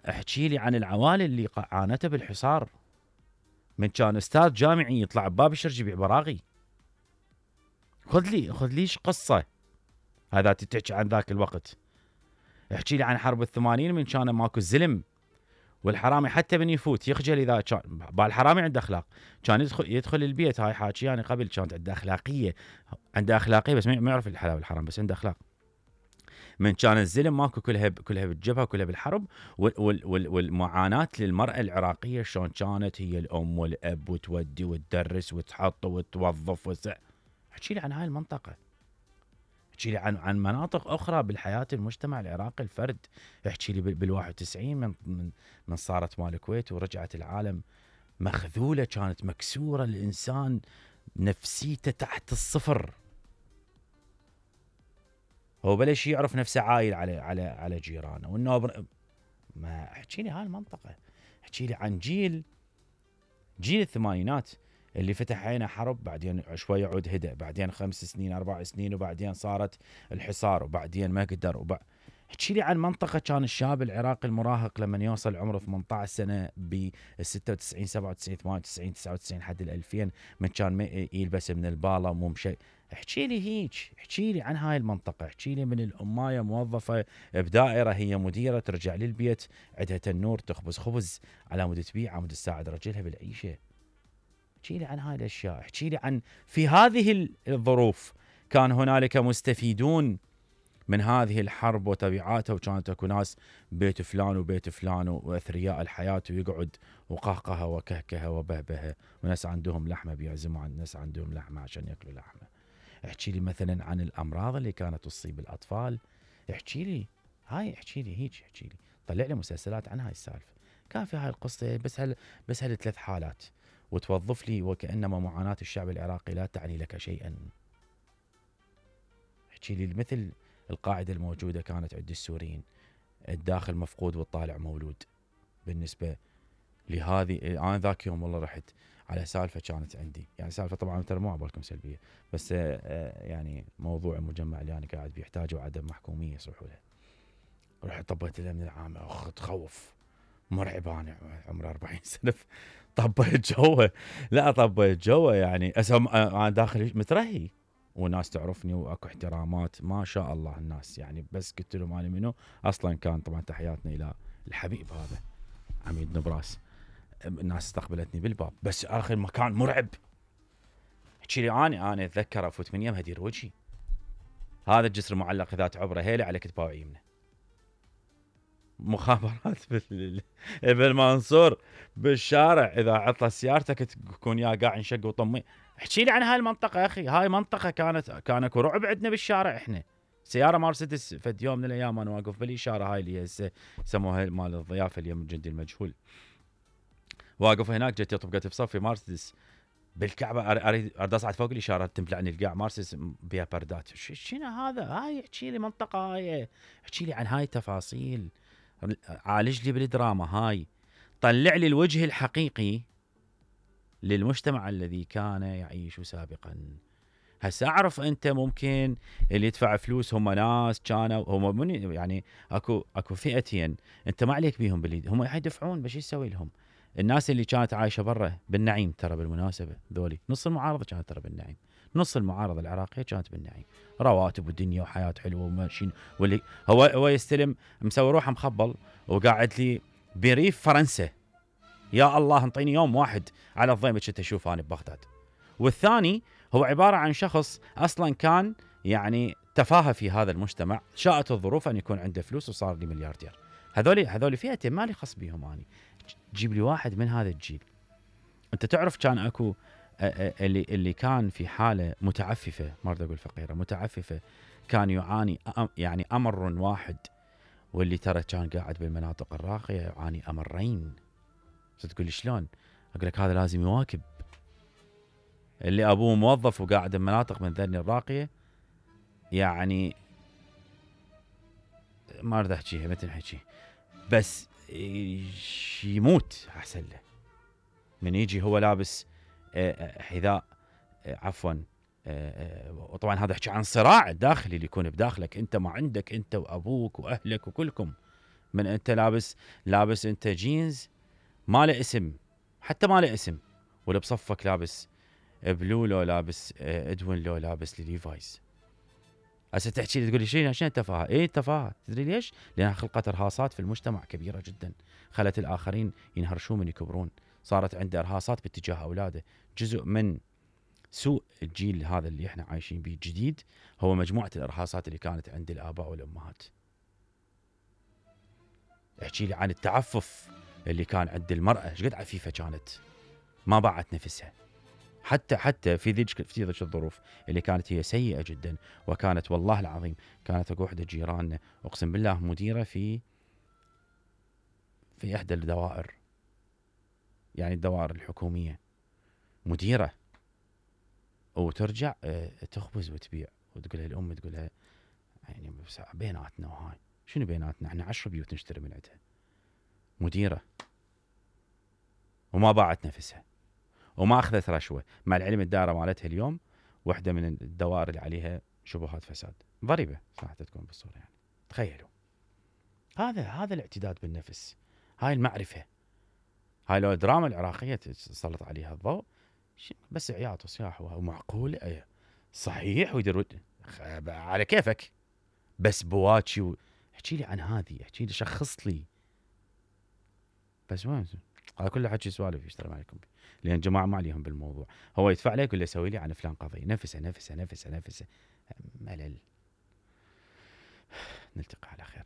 Speaker 1: احكي لي عن العوائل اللي عانته بالحصار، من كان استاذ جامعي يطلع بباب الشرج يبيع براغي. خذ لي خذ ليش قصه هذا تحكي عن ذاك الوقت. احكي لي عن حرب الثمانين من كان ماكو الزلم والحرامي حتى من يفوت يخجل. اذا كان بالحرامي عنده اخلاق، كان يدخل يدخل البيت. هاي حاكي يعني قبل كانت عنده اخلاقيه، عنده اخلاقيه بس ما يعرف الحلال والحرام، بس عنده اخلاق. من كان الزلم ماكو كلها كلها بالجبهه كلها بالحرب. والمعاناه للمراه العراقيه شلون كانت هي الام والاب وتودي وتدرس وتحط وتوظف وس... احكي لي عن هاي المنطقه، احكي لي عن عن مناطق اخرى بالحياه المجتمع العراقي الفرد. احكي لي بال واحد وتسعين من من من صارت مال الكويت ورجعت العالم مخذوله، كانت مكسوره، الانسان نفسيته تحت الصفر. هو بلش يعرف نفسه عايل على على على جيرانه وانه ما احكي لي هاي المنطقه. احكي لي عن جيل جيل الثمانينات اللي فتح عينه حرب، بعدين شوي عود هدأ، بعدين خمس سنين اربع سنين، وبعدين صارت الحصار، وبعدين ما قدر. وبع... احكي لي عن منطقه كان الشاب العراقي المراهق لما يوصل عمره ثمانية عشر سنه ب ستة وتسعين سبعة وتسعين ثمانية وتسعين تسعة وتسعين حد ال ألفين من كان يلبس من الباله مو مشي. احكي لي هيك، احكي لي عن هاي المنطقه، احكي لي من الامايه موظفه بدائره هي مديره، ترجع للبيت عندها تنور تخبز خبز على مود تبيع على مود تساعد رجلها بالعيشه. احكي لي عن هاي الاشياء، احكي لي عن في هذه الظروف كان هنالك مستفيدون من هذه الحرب وتبعاتها، وكانت اكو ناس بيت فلان وبيت فلان واثرياء الحياه ويقعد وقهقه وكهكه وبهبه، وناس عندهم لحمه بيعزموا عن ناس عندهم لحمه عشان ياكلوا لحمه. احكي لي مثلا عن الامراض اللي كانت تصيب الاطفال. احكي لي هاي، احكي لي هيك، احكي لي طلع لي مسلسلات عن هاي السالفه. كان في هاي القصه بس هل بس هالثلاث حالات وتوظف لي وكأنما معاناة الشعب العراقي لا تعني لك شيئا. احكي لي مثل القاعدة الموجودة كانت عند السوريين، الداخل مفقود والطالع مولود. بالنسبة لهذه أنا ذاك يوم والله رحت على سالفة كانت عندي، يعني سالفة طبعا ترى مو عبالكم سلبية، بس يعني موضوع المجمع اللي أنا قاعد بيحتاجوا عدم محكومية يصلحوا له. رحت طبيت له من العامة، أخ تخوف مرعب. أنا عمري أربعين سنة طبيت جوه، لا طبيت جوه يعني اسم انا داخل مترهي، وناس تعرفني واكو احترامات ما شاء الله الناس يعني. بس قلت له مالي منو اصلا، كان طبعا تحياتنا الى الحبيب هذا عميد نبراس. الناس استقبلتني بالباب، بس اخر مكان مرعب. احكي لي انا انا اتذكر افوت من يمها ادير وجهي، هذا الجسر معلق ذات عبره هيله على كتفه ويمنه. مخابرات بالمنصور بالشارع، اذا عطلت سيارتك تكون يا قاع انشق وطمي. احكي لي عن هاي المنطقه يا اخي. هاي منطقه كانت كان اكو رعب عندنا بالشارع. احنا سياره مرسيدس فد يوم من الايام انا واقف بالاشاره هاي اللي هسه يسموها مال الضيافه اليوم الجندي المجهول، واقف هناك جت طبقت بصفي مرسيدس بالكعبه، اريد اريد اصعد فوق الاشاره تملعني القاع مرسيدس بها بردات. شنو هذا؟ هاي احكي لي منطقه، هاي احكي لي عن هاي التفاصيل، عالج لي بالدراما هاي، طلع لي الوجه الحقيقي للمجتمع الذي كان يعيش سابقا. هسه اعرف انت ممكن اللي يدفع فلوس هم ناس كانوا هم من يعني اكو اكو فئتين انت ما عليك بيهم باليد، هم حيدفعون بس يسوي لهم. الناس اللي كانت عايشه برا بالنعيم، ترى بالمناسبه ذولي نص المعارضه كانت ترى بالنعيم، نص المعارضه العراقيه كانت بالنعيم، رواتب والدنيا وحياه حلوه وماشيين، واللي هو هو يستلم مسوي روحه مخبل وقاعد لي بريف فرنسا. يا الله انطيني يوم واحد على الضيمه كنت اشوفه انا ببغداد. والثاني هو عباره عن شخص اصلا كان يعني تفاهه في هذا المجتمع، شاءت الظروف ان يكون عنده فلوس وصار لي ملياردير. هذول هذول فئتين مالي خص بيهم اني. جيب لي واحد من هذا الجيل. انت تعرف كان اكو اللي اللي كان في حاله متعففه، ما اريد اقول فقيره، متعففه، كان يعاني يعني امر واحد، واللي ترى كان قاعد بالمناطق الراقيه يعاني امرين. تقول لي شلون؟ اقول لك هذا لازم يواكب. اللي ابوه موظف وقاعد بمناطق من ذني الراقيه يعني ما اريد احكيها متى نحكي، بس يموت احسن له من يجي هو لابس حذاء عفوا. وطبعا هذا احكي عن صراع الداخلي اللي يكون بداخلك انت، ما عندك انت وابوك واهلك وكلكم، من انت لابس لابس انت جينز ما له اسم، حتى ما له اسم، ولا بصفك لابس بلو لو لابس ادوين لو لابس ليفايز. هسه تحكي لي تقول لي شنو شنو التفاهه؟ ايه التفاهه، تدري ليش؟ لانها خلقت ارهاصات في المجتمع كبيره جدا، خلت الاخرين ينهرشون من يكبرون، صارت عنده ارهاصات باتجاه اولاده. جزء من سوء الجيل هذا اللي احنا عايشين به جديد هو مجموعه الارهاصات اللي كانت عند الاباء والامهات. احكي لي عن التعفف اللي كان عند المراه، ايش قد عفيفه كانت، ما باعت نفسها. حتى حتى في ذيك في ذيك الظروف اللي كانت هي سيئه جدا، وكانت والله العظيم كانت اكو وحده جيراننا اقسم بالله مديره في في احدى الدوائر، يعني الدوائر الحكوميه، مديره، وترجع تخبز وتبيع، وتقول لها الام تقول لها يعني بيناتنا، وهاي شنو بيناتنا؟ احنا عشر بيوت نشتري من عندها. مديره وما باعت نفسها وما اخذت رشوه، مع العلم الدائره مالتها اليوم واحده من الدوائر اللي عليها شبهات فساد، ضريبه صراحه تكون بالصوره يعني. تخيلوا هذا هذا الاعتداد بالنفس، هاي المعرفه، هاي لو الدراما العراقيه تسلط عليها الضوء بس عياط وصياح ومعقول ايه صحيح ويدير على كيفك، بس بواكي و... احكي لي عن هذه، احكي لي شخص لي، بس وين هذا كله حكي سوالف يشتغل عليكم، لان جماعه ما عليهم بالموضوع. هو يدفع لك يقول له سوي لي عن فلان قضيه، نفسه نفسه نفسه نفسه ملل. نلتقي على خير.